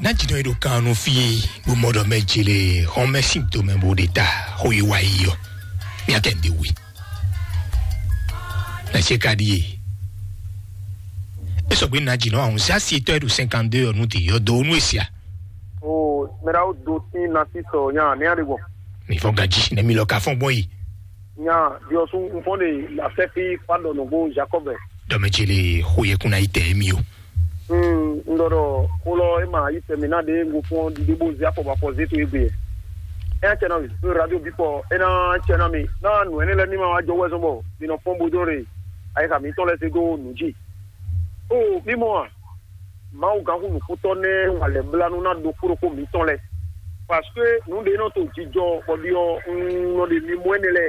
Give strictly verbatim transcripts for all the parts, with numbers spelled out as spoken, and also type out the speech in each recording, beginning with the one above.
Ná jǐ nɔ e ɖo kan nú fí e bó mɔ ɖɔ mɛ jele xɔmɛ sín do mɛ bó ɖe ta xó yi wá yi ɔ. Mía kɛ ɖe we. Na se ka ɖi e. E sɔgbe na jǐ nɔ ahun zá si tɔ e ɖo cinquante-deux ɔ nu te yɔ do nu e sia. O mɛra o do tin na si sɔ nya ne ale gbɔn. Mi fɔ gaji ne mi lɔ ka fɔn gbɔn yi. Nya diɔsu nfɔn de la sɛfi fa dɔ nɔgbo Jacob. Dɔ mɛ jele xó yɛ kun na yi tɛ mi o. Hmm, n ɖɔ ɖɔ xó lɔ e ma yi tɛmɛ na ɖe ŋgo fún ɔ́ ɖiɖe bó zé afɔ bɔ afɔ zé to égbé. Ɛ cɛ na mi ɖo radio bipɔ e na cɛ na mi na nǔ ɛnɛ lɛ ní ma wá jɔ wɛ zɔn bɔ mi nɔ fɔn bo dó re ayixa mitɔn lɛ se dó nǔ jí. O mi mɔ a, Mawu gǎnxu nǔkútɔ́ nɛ́ wa lɛ blánú ná ɖokpó ɖokpó mitɔn lɛ, parce que nǔ ɖé nɔ to jijɔ bɔ ɖiɔ un nɔ ɖe mi mɔ ɛnɛ lɛ.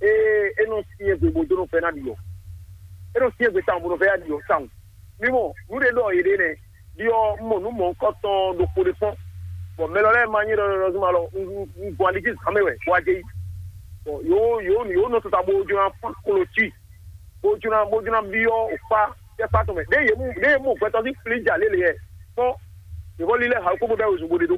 Ee, e nɔ syɛ́n gbe bo dó nɔ fɛ ná ɖiɔ. E nɔ syɛ́n gbe tawun bo nɔ fɛ ná ɖiɔ tawun. Mi mɔ nǔ ɖé ɖɔ yě ɖe nɛ́. Ɖiɔ un mɔ nǔ mɔ̌hunkɔtɔn ɖokpó ɖé kpɔ́n, bɔ mɛ lɔ lɛ́ɛ ma nyí ɖɔɖɔɖɔ zuma lɔ un gbɔn ali jí zǎn mɛ wɛ bó wá jɛ yi. Bɔ yǒ yǒ yǒ nɔ tata bó jló ná fán klo cí, bó jló ná bó jló ná byɔ́ òkpá tɛ́kpá tɔn mɛ. Ɖé yě mú ɖé yě mú gbɛtɔ́ sín flíjà lélẹ̀ yɛ kpɔ́n. Yě vɔ lílɛ́ ha kó bó bɛ́ wezun bó ɖe ɖó.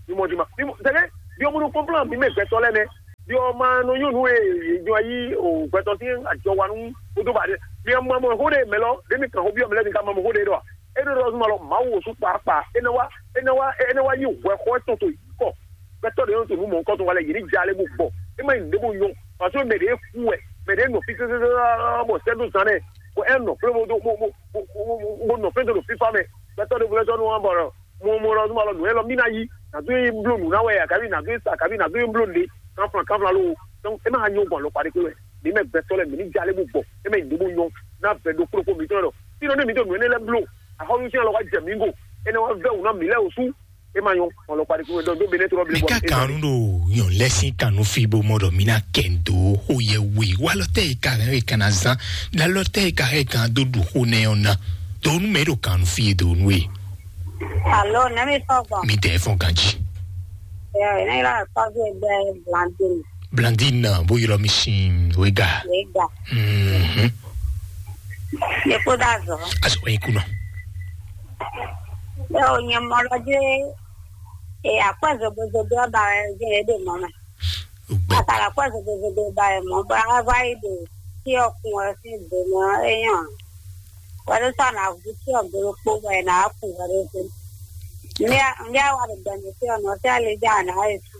Mi mɔ juma mi mɔ tɛlɛ. Ɖiɔ mo ɖo kɔnplan mi mɛ gbɛtɔ́ lɛ́ɛ nɛ́. Ɖiɔ ma nɔ nyɔ́ nú e yě jɔ yí o gbɛtɔ́ sín ajɔ wa nú kódó ba ɖé. Mi mɔ mɔ xó ɖé mɛ lɔ ɖé mi kàn xó byɔ́ mi lɛ́ɛ mi ka mɔ mɔ xó ɖé ɖɔ. E ɖo ɖɔ zuma lɔ Mawu wosú kpaakpa. E nɔ wá e nɔ wá e nɔ wá yí hwɛ xɔ tɔn to yí kɔ. Gbɛtɔ́ ɖe nɔ to nú mɔ̌hunkɔtɔn wa lɛ yě ní ja lé bó gbɔ. E má nyí nǔɖé bó nyɔ́. Parce que mɛ ɖě kú wɛ, mɛ ɖě nɔ fí sésésé bɔ sɛ́dó zan nɛ, bɔ ɛ nɔ flé bó dó bó bó bó bó bó nɔ flé dó ɖo fífá mɛ. Gbɛtɔ́ ɖěvo lɛ́ɛ sɔ́ nú wa bɔ mo mo lɔ nú alɔ nǔ élɔ́ mí ná yí, nǎ dó yi bló nǔ ná wɛ akaví nǎ dó yi sa akaví nǎ dó yi bló nǔɖé kanflan kanflan ló. Donc é má nyɔ́ gbɔn alɔkpa ɖé kpé wɛ. Mǐ mɛ gbɛtɔ́ lɛ́ɛ mǐ ní ja lé bó gbɔ, é mɛ nyí ɖě bó nyɔ́ ná vɛ ɖokpó ɖokpó mǐtɔn ɖɔ. Fínɔ ní mǐ dó nǔ énɛ́ lɛ́ɛ bló, axɔ́nú sín alɔ wá jɛ mǐ go, énɛ́ wá vɛ́ wǔ ná mǐ lɛ́ɛ wǒ sú. É má nyɔ́ gbɔn alɔkpa ɖé kpé wɛ. Donc dó benɛ́ trɔ́ blé mɛ gbɔn. Ka kan ɖo yɔn lɛ sín kan nú fí bó mɔ ɖɔ mí ná kɛ ndo xó yɛ we wá lɔ tɛ yi ka hɛn ka ná zán la lɔ tɛ yi ka hɛn kan dó ɖu xó nɛ ɔ́ ná. Do nú mɛ ɖo kan nú fí e do nú e. Alo, nɛmi fɔ gbɔn. Mi tɛ fɔn ganji. Ɛ ne la kɔvi gbɛ Blandine. Blandine na bó yɔrɔ mi sin wega. Wega. Mhm. Ne ko da zɔ. Aso yin kunɔ. Ɛ o nyɛ mɔ lɔ je. E akpɛ zobo zobo ba je e de mɔ mɛ. Akala kɔ zogozogo ba ɛ mɔ bɔ a va yi ɖo tí ɔkun ɛ sín do mɛ ɔ́ é nyɔ. Wɛɖó sɔ na vú tí ɔgolo kpó bɔ ɛ na kun wɛɖó dó. Ndé a wa ɖo gbɛmɛ tí ɔnɔ tí a lè dza na ɛ su.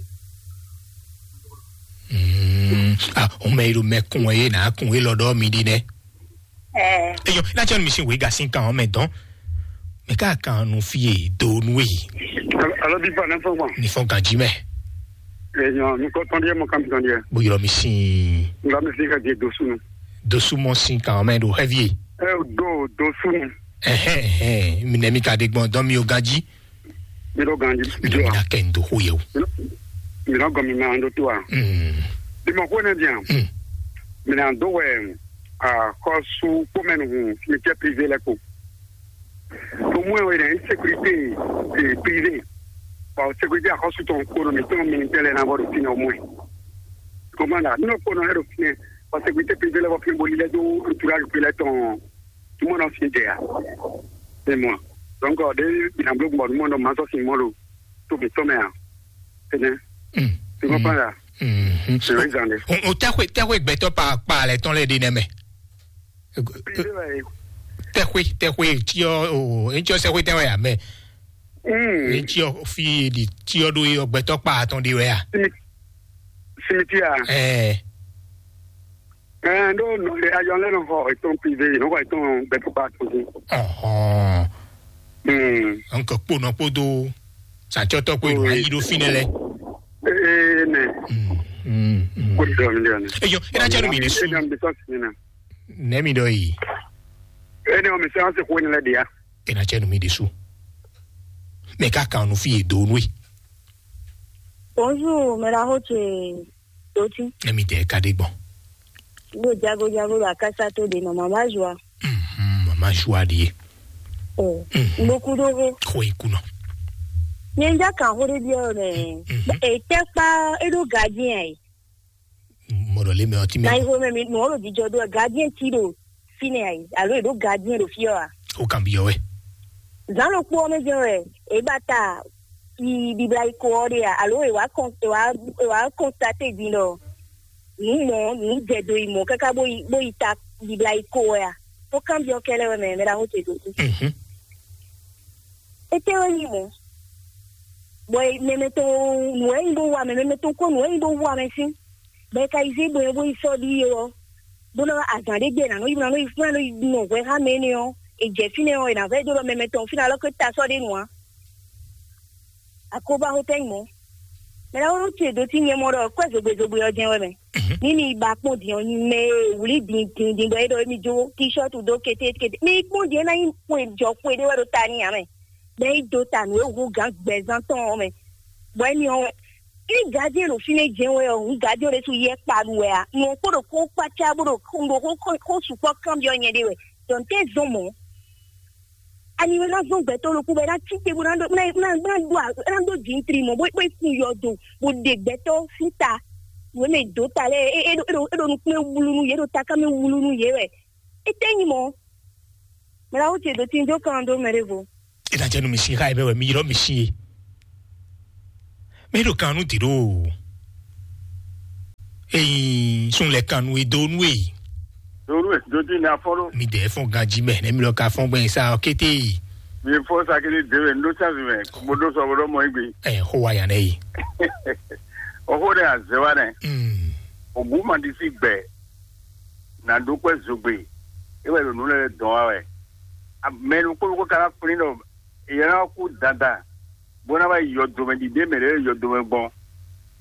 Ah, o mɛ yi ɖo mɛ kun ɛ yé na kun é lɔ ɖɔ mi ɖi nɛ. Eyɔ, na cɛ mi si wega sin kan ɔmɛ dɔn. Mɛ ka kan nu fie do nu e. Alo bi fa ne fɔ gbɔn. Ni fɔ ganji mɛ. Eyɔ, mi kɔ tɔn diɛ mo kan tɔn diɛ. Bo yɔrɔ mi sin. Nga mi fi ka je dosu nu. Dosu mɔ sin kan ɔmɛ do heavy. E do dosu nu. Ɛhɛn ɛhɛn, mi nɛ mi ka de gbɔn dɔn mi o ganji. Mi ɖo ganji. Mi ɖo mi na kɛ ndo xo yɛ o. Mi nɔ gɔn mi ma ɖo to a. Mm. Bi mɔ ko ne dian. Mm. Mi na do wɛ. Akɔsu kpɔmɛnu hun cimetière privé lɛ ko. Au moins o yɛrɛ sécurité privé. Bon, sécurité akɔsu tɔn ko no mi tɔn mi tɛlɛ na bɔ do fina au moins. Comment là? Non, ko no hero fina. Bon, sécurité privé lɛ bɔ fina boli lɛ do entourage privé lɛ tɔn. Tout le monde en fin de. C'est moi. Donc, de mi na blo gbɔ, tout le monde en masse, c'est moi le. Tout le temps, mais. C'est bien. Tu comprends là? Mm. O tɛxwe tɛxwe gbɛtɔ pa pa lɛ tɔn lɛ ɖi nɛ mɛ. Tɛxwe tɛxwe tiɔ o etsɔ sɛxwe tɛwɛ ya mɛ. Etsɔ fi di tiɔ ɖo yi gbɛtɔ pa atɔn ɖi wɛ ya. Simiti ya. Ɛɛ. Ɛɛ, ɖó nɔ ayɔ lɛ nɔ xɔ etɔn privé, nɔ xɔ etɔn gbɛtɔ pa atɔn. Ɔhɔn. Hmm. Nka kponɔ kpodo satsɔtɔ kpo enu ayi ɖo fi nɛ lɛ. Ee nɛ. Mm, mm, mm. Kó dɔ mi dɔ ne. Eyɔ, ena tsɛ nu mi ɖe su. Ena mi sɔ si na. Nɛ mi dɔ yi. Ene o mi sɛ an se ko ne lɛ dia. Ena tsɛ nu mi ɖe su. Mɛ ka kan nu fi ye do nu e. Bonjour, mɛ la ho ce. Toti. Emi tɛ ka ɖe gbɔn. Ɖo jago jago ɖo akasa to ɖe nɔ mama zua. Mhm, mama zua ɖie. O. Mhm. Ndoku ɖo ho. Xo iku nɔ. Nye n ja kan ho ɖe biɔ mɛ. Mhm. E tɛ kpa e ɖo gardien ayi. Mɔɖɔ le mɛ ɔti mɛ. Na iho mɛ mi mɔ ɖo jijɔ ɖo gardien ti ɖo fi nɛ ayi alo e ɖo gardien ɖo fi ɔ a. O kan biɔ wɛ. Zǎn ɖokpó ɔ́ mɛ jɛ́n wɛ é ba ta yi bibla yi ko ɔ́ ɖe a? Alo è wǎ kɔn è wǎ è wǎ kɔnstaté din ɖɔ nǔ mɔ nǔ jɛ do yi mɔ káká bó yi bó yi ta bibla yi ko wɛ a? Bó kanbyɔ́ kɛ́ lɛ́ɛ wɛ mɛ mɛ ɖaxó ce dó kú. Mhm. Étɛ́ wɛ nyí mɔ̌? Bɔ mɛmɛ tɔn nǔ wɛ nyí bó wa mɛ, mɛmɛ tɔn kó nǔ wɛ nyí bó wa mɛ sín. Bɔ é ka yi zé bɔ é bó yi sɔ́ ɖíe ɔ́, bó ná azǎn ɖé gbé è nǎ nɔ yi bó ná nɔ yi bó ná nɔ yi nɔ hwɛ xá mɛ énɛ́ ɔ́, è jɛ fínɛ́ ɔ́, è nǎ vɛ́ dó ɖɔ mɛmɛ tɔn fínɛ́ alɔ ké ta sɔ́ ɖé nu ǎ. Akóbá hótɛ́ nyí mɔ̌. Mɛ ná wó ce dó tí nyɛ mɔ ɖɔ kwɛ́ zogbe zogbe ɔ́ jɛ́n wɛ mɛ. Ní mi ba kpɔ́n din ɔ́, mɛ e wlí din din din bɔ é ɖɔ émí jó tíshɔ́tu dó kétékété. Mi kpɔ́n din é ná nyí xwe jɔ xwe ɖé wɛ ɖo ta ní ǎ mɛ. Bɔ é nyí dó ta nǔ e hú gǎn gbɛzán tɔn ɔ́ mɛ. Bɔ émí ɔ́ wɛ. Ní gǎjɛ́n ɖo fínɛ́ jɛ́n wɛ ɔ́, hǔn gǎjɛ́n ɖésú yɛ kpa ɖu wɛ ǎ. Nǔ ɔ́ kpo ɖo xó kpácá bó ɖo xó ɖo xó xó xó sukpɔ́ kanbyɔ́ nyɛ ɖé wɛ. Dɔn tɛ́ zɔn mɔ̌. Ani wɛ ná zɔn gbɛtɔ́ ɖokpó bɔ é ná cí te bó ná ɖó ná ná ná ɖó ná ɖó jǐntri mɔ̌ bó bó kun yɔdo bó ɖe gbɛtɔ́ sín ta. Nǔ e mɛ dǒ ta lɛ́ɛ é é ɖo é ɖo é ɖo nukún e wlú nú yě ɖo taká mɛ wlú nú yě wɛ. Étɛ́ nyí mɔ̌? Mɛ ná wó ce dǒ tin jó kan dó mɛ ɖěvo. È nǎ jɛ nú mi sín xá e mɛ wɛ mi ylɔ́ mi sín e. Mɛ ɖo kan nú dǐ ɖo. Eyin sun lɛ kan nú e dó nú e. Donu e dodi ne afɔ ɖo. Mi dɛ fɔn ganji mɛ ne mi lɔ ka fɔn gbɛn sa kété. Mi fɔ sakele de wɛ ndo sansi mɛ mo do sɔ bo dɔ mɔ igbe. Ɛ xo wa yan ne yi. Ɔxo ne azɛ wa nɛ. Mm. Ogu ma di si gbɛ. Na do kpɛ zogbe. E wɛ ɖo nu lɛ dɔn wa wɛ. Mɛ nu kpó kó kana kplin dɔ. Ìyẹn náà kú dandan bó ná wá yi yɔdomɛ ɖiɖe mɛ lɛ́ɛ yɔdomɛ gbɔn.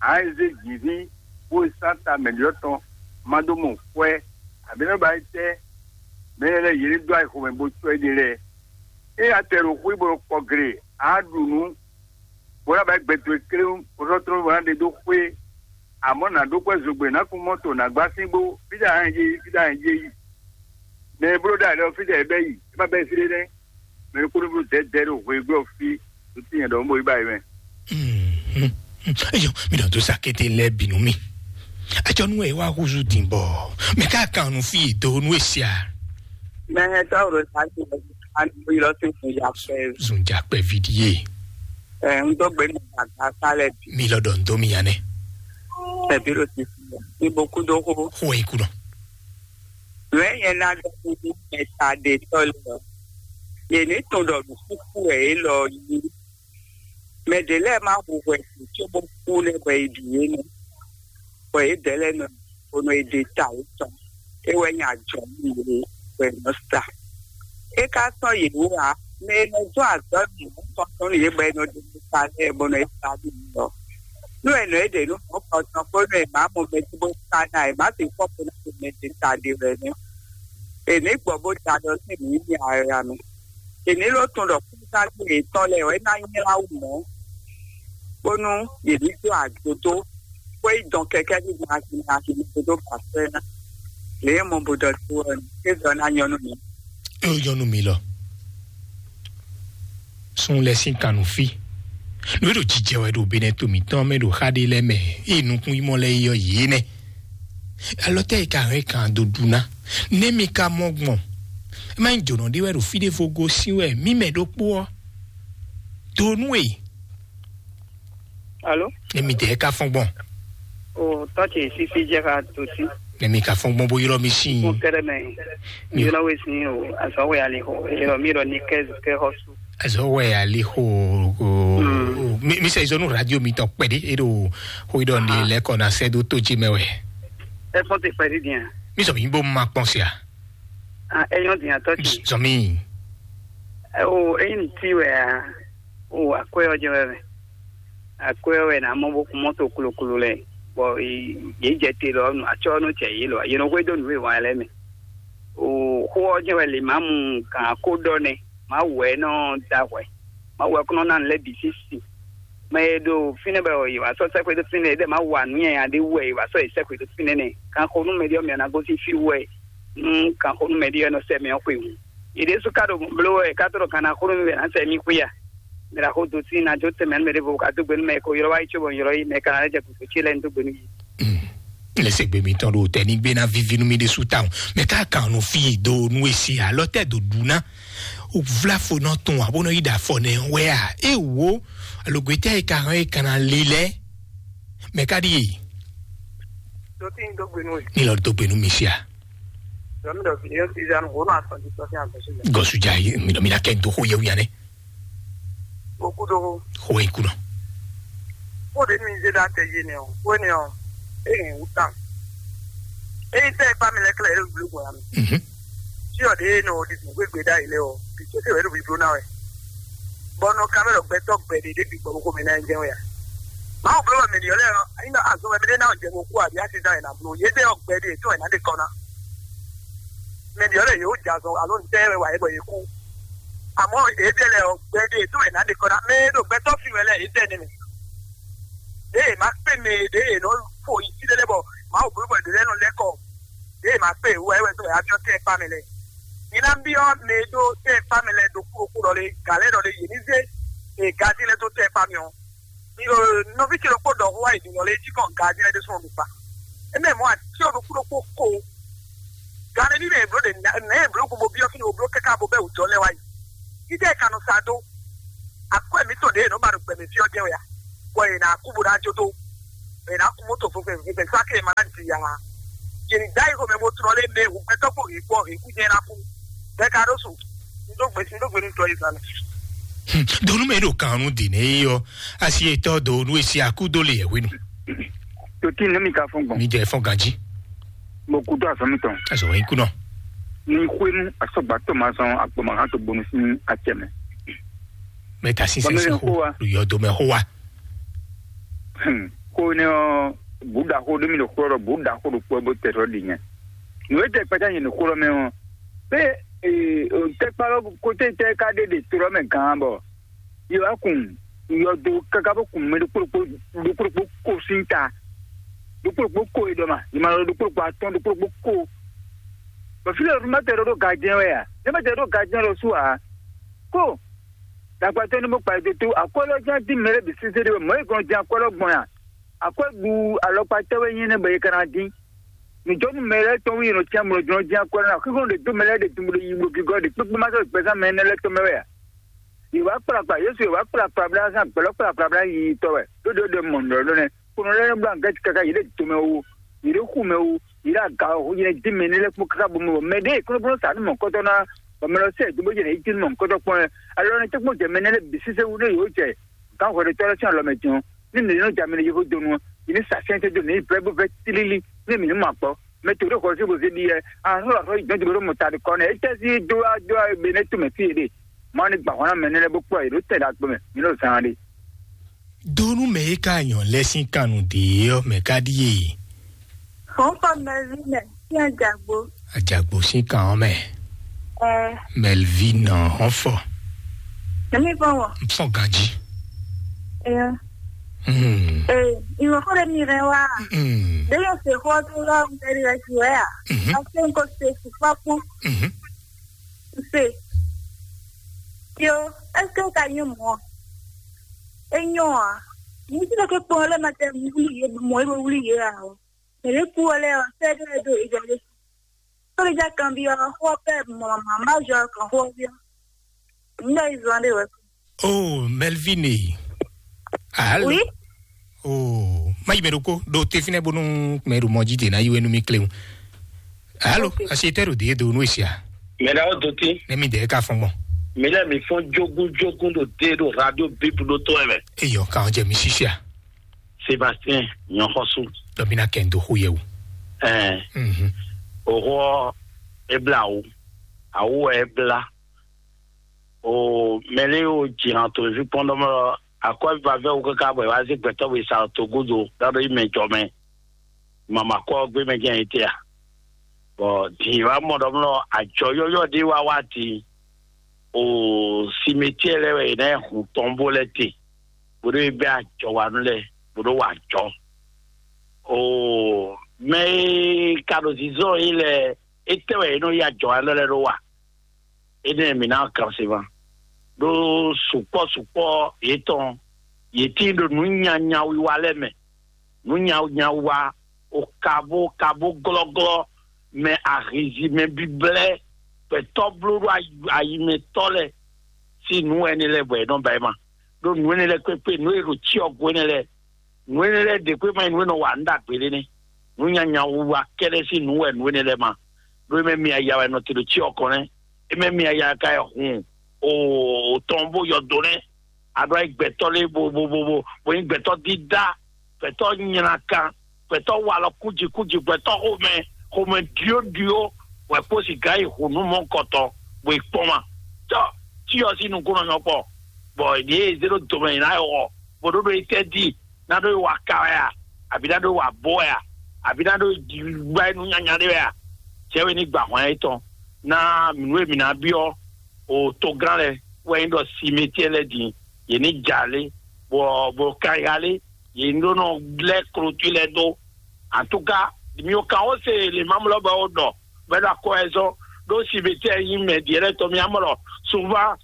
Ǎ é zé jǐví bó e sán ta mɛ̌ɖyɔ́ tɔn má dó mɔ kwɛ́, abǐ nɔ́ ba é tɛ́ mɛ lɛ́ɛ yě ní dó ayixo mɛ bó cɔ́ éɖée lɛ́ɛ. É ya tɛ ɖo xwé bó ɖo kpɔ gle, ǎ ɖu nǔ, bó ná ba é gbɛ towe kléwún, bó sɔ́ tló bó ná ɖe dó xwé. Amɔ̌ nǎ ɖó kwɛ́ zogbe nǎ kún mɔ́to nǎ gbá sín bó fíɖa hɛn yé fíɖa hɛn yé yi. Mɛ e bló ɖa lɛ́ɛ ɔ́, fí ɖɛ é bɛ́ yi, é má bɛ́ fí ɖé nɛ́. Mɛ e kúɖúblú dɛ̌dɛ̌ ɖo hweyígbe ɔ́ fí, ɖo tínyɛ ɖɔ mɔ yi ba yi mɛ. Eyɔ, mi ɖɔ dó sa kété lɛ́ɛ bǐ nú mi. Ajɔ nú ɛ wá húzú din bɔ mɛ ká kan nu fí do nú èsì a. Mɛ hɛn tɔ́ ro sa ti lɔ ani bo yi lɔ sí fún ya pɛ. Zun ja pɛ vi di ye. Ɛ n dó gbé mi gbàgbà sálẹ̀ bí. Mi lọ dɔ n dó mi yan nɛ. Ẹ bí ro ti fún ya. Ibo kú dó hó. Hó ẹ kú dɔ. Nǔ e nyɛ ná ɖɔ nú mɛtaɖetɔ́ lɛ́ɛ ɔ́, yě ní tunwun ɖɔ nǔkúkú wɛ élɔ́ ɔ́ nyí. Mɛ ɖě lɛ́ɛ má hu hwɛ din cóbó kú nɛ́ bɔ è ɖu yě nɛ́, bɔ yědɛɛ lɛ́ɛ nɔ bó nɔ yi ɖe ta yětɔn. É wɛ nyí ajɔ̌ nú yě bɔ è nɔ sa. É ka sɔ́ yě wú ǎ. Mɛ e nɔ dó azɔ̌ nǔ mɔ̌hunkɔtɔn nú yě bɔ è nɔ ɖe ta lɛ́ɛ bó nɔ yi sa nú yě ɔ́, nú è nɔ é ɖe nú mɔ̌hunkɔtɔn kpó nú è má mɔ mɛ bó sa ná è má sixú xɔ ná ɖo mɛ ɖě ta ɖe wɛ nɛ́. È nǐ gbɔ bó da ɖɔ sín nǔ nyi ara mɛ. È nǐ ló tunwun ɖɔ kúnságbó yětɔn lɛ́ɛ wɛ ná nylá wú mɔ̌, bónú yě ní dó adodo, bó yi dɔn kɛkɛ́ ní gbɔn asi ní asi ní dó ba sɛ́ ná. Lě e mɔ bó ɖɔ tó ɔ́, é zɔ ná nyɔ́ nú mi. É ó nyɔ́ nú mi lɔ. Sun lɛ sín kan nú fí. Nǔ e ɖo jijɛ wɛ ɖo Benɛto mǐtɔn mɛ ɖo xá ɖé lɛ́ɛ mɛ, ée nukún yi mɔ lɛ́ɛ yi ɔ́ yě nɛ́. Alɔ tɛ́ e ka hɛn kan dó ɖu ná? Nɛ́ mi ka mɔ gbɔn? É má nyí jǒnɔ ɖé wɛ ɖo fí ɖěvo gosín wɛ mǐ mɛ ɖokpó ɔ́. Do nú e. Alo? Nɛ́ mi dɛ ka fɔn gbɔn. O tɔ́ ce sísí jẹ́ ká tó sí. Nɛ́ mi ka fɔn gbɔn bó ylɔ́ mi sín. Fún kɛrɛ mɛ. Mi ylɔ́ wé sín o, azɔ́ wɛ ali xɔ. Ylɔ́ mi ylɔ́ ní kɛ kɛ xɔ su. Azɔ wɛ ali xo o. Mi mi sɛ izɔnu radio mi tɔ kpɛɖe e ɖo xo idɔ ne lɛ kɔ na sɛ do to dzi mɛ wɛ. Ẹ fɔn ti kpɛɖe diɛ. Mi sɔ mi bo ma kpɔn sia. Ah, ẹ yɔn diɛ tɔ ti. Sɔ mi. Ẹ o eyin ti wɛ a. O akwɛ ɔjɛ wɛ mɛ. Akwɛ wɛ na mɔ bo kun mɔto kloklo lɛ. Bɔ ye jɛ te lɔ atsɔ nu cɛ ye lɔ ye nɔ xwe do nu e wa lɛ mɛ. O xo ɔjɛ wɛ le ma mu kan ko dɔ nɛ. Mawu wɛ nɔ da hwɛ. Mawu wɛ kɔnɔ na lɛ bi sisi. Mɛ e ɖo fínɛ́ bɛ yě wá sɔ́ sɛ́xwé dó fínɛ́ ɖɛ Mawu wa nǔ nyanya ɖé wɛ yě wá sɔ́ yě sɛ́xwé dó fínɛ́ nɛ. Kan xo nú mɛ ɖé ɔ́ mɛ ná gosín fí wɛ nú kan xo nú mɛ ɖé ɔ́ nɔ sɛ mɛ ɔ́ xwe hǔn. Yě ɖésú ka ɖo bló wɛ ká tɔ́ ɖɔ kan ná xo nú mɛ ná sɛ mí xwé a. Mɛ ɖo axó dó tín ná jó tɛnmɛ nú mɛ ɖěvo ka dó gbe nú mɛ ko ylɔ́ wá yi cóbɔ un ylɔ́ yi mɛ ka ná lɛ́ jɛ gǔdo ce lɛ́ɛ un dó gbe nú yi. Lɛsɛgbe mitɔn ɖo tɛ ní gbé ná víví nú mi ɖésú tawun. Mɛ ká kan nú fí do nú èsì alɔ tɛ do ɖu ná. O vlá fo nɔ tɔn abo nɔ yi ɖa afɔ nɛ wɛ a? E wo alogbetɛ e ka hɔn e kana lilɛ mɛ ka ɖi e? Dotí ń dógbe nú ẹ. Ní lọ dógbe nú mi sia. Dɔmí dɔ fìdí yóò ti zanu wò nù asɔn ti sɔfí àgbẹ̀sí lẹ. Gɔsu ja yi mi dɔ mi na kɛ do xo yewu yanɛ. Òkú do. Xo wɛ ikú nɔ. Kó de mi zé dá tɛ yé nɛ o, kó nɛ o, e hɛn wú tán. E yi tɛ ipa mi lɛ kílẹ̀ yóò gbé gbɔn ya mi. Mhm. Tí ɔ de nɔ o di sùn gbégbé dá yi lɛ o, bi tó tẹ wɛ ɖo bi bló ná wɛ. Bɔ nɔ kamɛ lɔ gbɛtɔ gbɛ de de bi gbɔ ko mi ná jẹ wɛ ya. Mawu bló wɛ mi ni yɔ lɛ ɔ, ayi na azɔ wɛ mi de ná jẹ mo kú àbí àti dá yìí nà bló. Yé de ɔ gbɛ de tó wɛ ná de kɔ ná. Mɛ ɖě ɔ́ lɛ́ yě wó jɛ azɔn alo un tɛ́ wɛ wa yě bɔ yě kú. Amɔ̌ yě dɛ lɛ ɔ́, gbɛɖe tó wɛ nǎ ɖe kɔ ná mɛ e ɖo gbɛtɔ́ fi wɛ lɛ́ɛ yě dɛ nɛ́ mɛ. Ɖěe è ma kpé mɛ e ɖěe è nɔ fo yi fí ɖé lɛ́ɛ bɔ Mawu bló bɔ yě ɖě lɛ́ɛ nɔ lɛ́ kɔ. Ɖěe è ma kpé wɛ wɛ tó wɛ abyɔ́ tɛ́ kpá mɛ lɛ́ɛ. Mi ná byɔ́ mɛ e ɖó tɛ́ kpá mɛ lɛ́ɛ ɖokpó ɖokpó ɖɔ lé gǎ lɛ́ɛ ɖɔ lé yě ní zé e gají lɛ́ɛ dó tɛ́ kpá mɛ ɔ́. Nɔví ce ɖokpó ɖɔ xó wá yi ɖiɖɔ lé jí kɔn gají lɛ́ɛ ɖésú ɔ́ mi kpa. Énɛ́ mɔ̌ atíɔ ɖokpó ɖokpó ko. Gǎn ɖé ní mɛ è bló ɖe nɛ̌ è bló gbogbo byɔ́ fínɛ́, wo bló káká bo bɛ́ wǔjɔ lɛ́ɛ wá yi. Títí è ka nɔ sa dó. Akwɛ́ mǐtɔn ɖě è nɔ ba ɖo gbɛmɛ fí ɔ́ jɛ́n wɛ a? Bɔ è nǎ kú bó ná jó dó. È nǎ kú mɔ́ to vɔvɛ vɔvɛ sáké è ma ná di ǎ. Yě ní dá yi xomɛ bó tlɔ́ lé mɛ hǔgbɛ́tɔ́ kpó hǐkpɔ́ hǐkú jɛ́n ná kú. Bɛ́ ka ɖó su. Un dó gbe un dó gbe nú tɔ Izalɛ. Donu mɛ ɖo kan nu di ne yi ɔ asi etɔ do nu esi aku do le yɛ wenu. Toti ne mi ka fɔn gbɔn. Mi jɛ fɔn ganji. Mo kudo azɔn mi tɔn. Azɔ yi kunɔ. Ni xwenu asɔgbatɔ ma sɔn agbɔmahan to bonu sin acɛ mɛ. Mɛ ta sin sɛn sin xo lu yɔ do mɛ xo wa. Xo ne ɔ buda xo ɖo mi ɖo xo ɖɔ buda xo ɖo kpɔ bo tɛ ɖɔ ɖi nyɛ. Nu e tɛ kpɛta nyɛ ɖo xo ɖɔ mɛ ɔ. Pe tɛkpa lɔ kote tɛ ka ɖe ɖe to lɔ mɛ gán bɔ yi wá kun yɔ do kaka bó kun mɛ ɖokpó ɖokpó ɖokpó ɖokpó ko sín ta. Ɖokpó ɖokpó ko e ɖɔ ma yi ma lɔ ɖokpó ɖokpó atɔn ɖokpó ɖokpó ko. Bɔ fi lɛ ɖo ma tɛ ɖo ɖo gajɛ wɛ a? Ne ma tɛ ɖo gajɛ lɔ su a? Ko dagbatɔ ni mo kpa do to akɔlɔ jan di mɛ lɛ bi sese de mɔ e gɔn di akɔlɔ gbɔn ya. Akɔ ɖu alɔkpa tɛwɛ nyi ne bɔ ye kana di. Nǔjɔnú mɛ lɛ́ɛ tɔn wí nɔ cyán mlɔjɔnɔ jɛ́n akwɛ́ ná xíxɔ́n ɖě dó mɛ lɛ́ɛ ɖě dun bó ɖo yi bó gígɔ́ ɖě kpékpé má sɔ́ gbɛzán mɛ énɛ́ lɛ́ɛ tɔn mɛ wɛ a? Yě wá kplakpla Yésu, yě wá kplakpla blá zán gbɛ̌lɔ́ kplakpla blá yi tɔ́ wɛ ɖó ɖě ɖɔ mɔ nǔɖɔɖɔ́ nɛ́. Kponɔ lɛ́ɛ nɔ blá nǔ gɛ́ káká yě ɖo domɛ ó, yě ɖo xu mɛ ó, yě ɖo aga ó, yě dín mɛ énɛ́ lɛ́ɛ kpó káká bó mɛ bɔ mɛ ɖěe kúnlókúnló sa nú mɔ̌kɔ́tɔ́ ná bɔ mɛ lɔ sɛ dó bó jɛ yě cí nú mɔ̌kɔ́tɔ́ kpɔ́n wɛ. Alɔ nɛ́ tɛ́ kpó jɛ mɛ énɛ́ lɛ́ɛ bǐ sésé wú nú yě ó jɛ gǎnhwɛ ɖé tɔ́ lɛ́ɛ sín alɔ mɛ din ɔ́, ní mǐ ní nɔ jɛ ami ɖo yexó donu ɔ́, mǐ ní sa sɛ́nsɛ́n dó mǐ ní vɛ́ bó vɛ́ tlílí, ní mǐ ní mɔ akpɔ́. Mɛ to ɖé xɔ sí bó zé ɖi yɛ, ahlɔ́ ahlɔ́ yi dɔn jogbo ɖo mɔ ta ɖi kɔ nɛ, é tɛ́ sí dó wá dó wá be nɛ́ tómɛ fí yě ɖe. Mawu ní gba hɔn ná mɛ nɛ́ lɛ́ɛ bó kplɔ́ yě ɖó tɛn ɖagbe mɛ, mǐ nɔ zán ɖe. Donu mɛ e ka nyɔ lɛ sín kannu ɖě ɔ́ mɛ ka ɖíe. Xɔ́nxɔ Melvin, sín Ajagbo. Ajagbo sín kan ɔ́ mɛ. Ɛ. Melvin hɔn fɔ. Èmi fɔ wɔ. N fɔ ganji. Ɛ. Hmm. Ee, ìwọ fɔ ɖe mi rẹ wa. Hmm. Ɖe yóò ṣe xɔ tó lọ ń tẹ̀lé rẹ sí wẹ́ à. Mhm. Àti nǹkan ṣe fúnfá kú. Mhm. Ṣe. Yo, est-ce que ka nyɔ mɔ? E nyɔ a. Ní tí lókè kpɔn lé ma tẹ wuli yé mɔ é wuli yé a o. Mɛ lé kú wọlé ɔ, sẹ́dọ̀ ẹ̀ dó ìjọ lé. Sórí jẹ́ kan bí ọ, xó pẹ́ mọ̀ màmá jọ kàn xó bí ọ. Nígbà yìí zan dé wẹ̀. Oh, Melvin. Allô? Oui. Oh, ma yi mɛ ɖokó ɖo te fínɛ́ bónú mɛ ɖo mɔ jí dě ná yi wɛ nú mì kléwún. Allô? Ok. Asi tɛ ɖo dě do nú esia. Mɛ ɖa ó do tí. Ne mi dɛ ka fɔn gbɔn. Mi lɛ mi fɔn jogun jogun ɖo dé ɖo radio bíbu ɖó tó ɛ mɛ. Eyɔ kan jɛ mi sisia. Sébastien Nyɔxɔsú. Dɔ mi na kɛ n do xó yɛ o. Ɛɛ. Mhm. Òhɔ ebla awu. Awu ebla. O mɛlɛ o jìnnà tó fi kpɔn ɖɔmɔ akɔ vavɛ wo kaka bɔ wa zé gbɛtɔ bɔ sa to godo dado yi mɛ jɔ mɛ. Mama kɔ gbé mɛ jẹ́ yìí tẹ́ a. Bɔ dì wa mɔ ɖɔmɔ àjọ yɔyɔ ɖé wa wá ti. O simetiɛ lɛ wɛ yìí náà hun tɔn bó lɛ te. Bó ɖó bɛ àjọ wa nú lɛ bó ɖó wà jɔ. O mɛ yi ka ɖo zizɔ yi lɛ, etɛ wɛ yìí nɔ yi àjọ wa lɛ lɛ ɖó wa. Énɛ́ mǐ ná kan se ma. Ɖó sukpɔ́ sukpɔ́ yětɔn, yě tíin ɖo nǔ nyanya wiwa lɛ́ɛ mɛ. Nǔ nyanya wiwa, o kabo kabo glɔ́glɔ́, mɛ ahizi, mɛ biblɛ́, gbɛtɔ́ bló ɖó ayi- ayimɛtɔ́ lɛ́ɛ sín nǔ wɛ énɛ́ lɛ́ɛ bɔ è nɔ ba ɛ ma. Ɖó nǔ énɛ́ lɛ́ɛ kpékpé, nǔ e ɖo cyɔ go énɛ́ lɛ́ɛ, nǔ énɛ́ lɛ́ɛ ɖě kpé ma nyí nǔ e nɔ wa nǔ ɖagbe lé nɛ́. Nǔ nyanya wiwa kɛ́ɖɛ́ sín nǔ wɛ nǔ énɛ́ lɛ́ɛ ma. Ɖó é mɛ mi aya wɛ nɔ te ɖo cyɔ kɔn nɛ́. É mɛ mi aya ka wɛ hun o tɔn bó yɔ do nɛ́. A ɖo ayi gbɛtɔ́ lé bo bo bo bo bo nyí gbɛtɔ́ dídá, gbɛtɔ́ nylá kan, gbɛtɔ́ walɔ kúji kúji, gbɛtɔ́ xomɛ xomɛ ɖyó ɖyó, wɛ kpó sika yi hǔnú mɔkɔtɔn bó yi kpɔ́n ma. Tɔ tí ɔ sín nukúnnɔ nyɔ kpɔ, bɔ yě zé ɖó domɛ yě ná yi xɔ, bó ɖó ɖó yi tɛ́ dí, ná ɖó yi wa ka wɛ a, abǐ ná ɖó yi wa bó wɛ a, abǐ ná ɖó yi gbá yi nú nyanya ɖé wɛ a? Cɛ́ wɛ ní gba hɔn étɔn ná nǔ e mǐ ná byɔ́ o togán lɛ́ɛ wɛ nyí ɖɔ simetiɛ lɛ́ɛ din, yě ní ja lé, bɔ bɔ kanya lé, yě ní ɖó nɔ lɛ́ klotwi lɛ́ɛ dó. Antúka, mi ò kan ó se lè má mlɔ bɔ ó ɖɔ bɔ é ɖo akɔ ɛ zɔn ɖó simetiɛ nyí mɛ diɛ lɛ́ɛ tɔn mi amlɔ suvan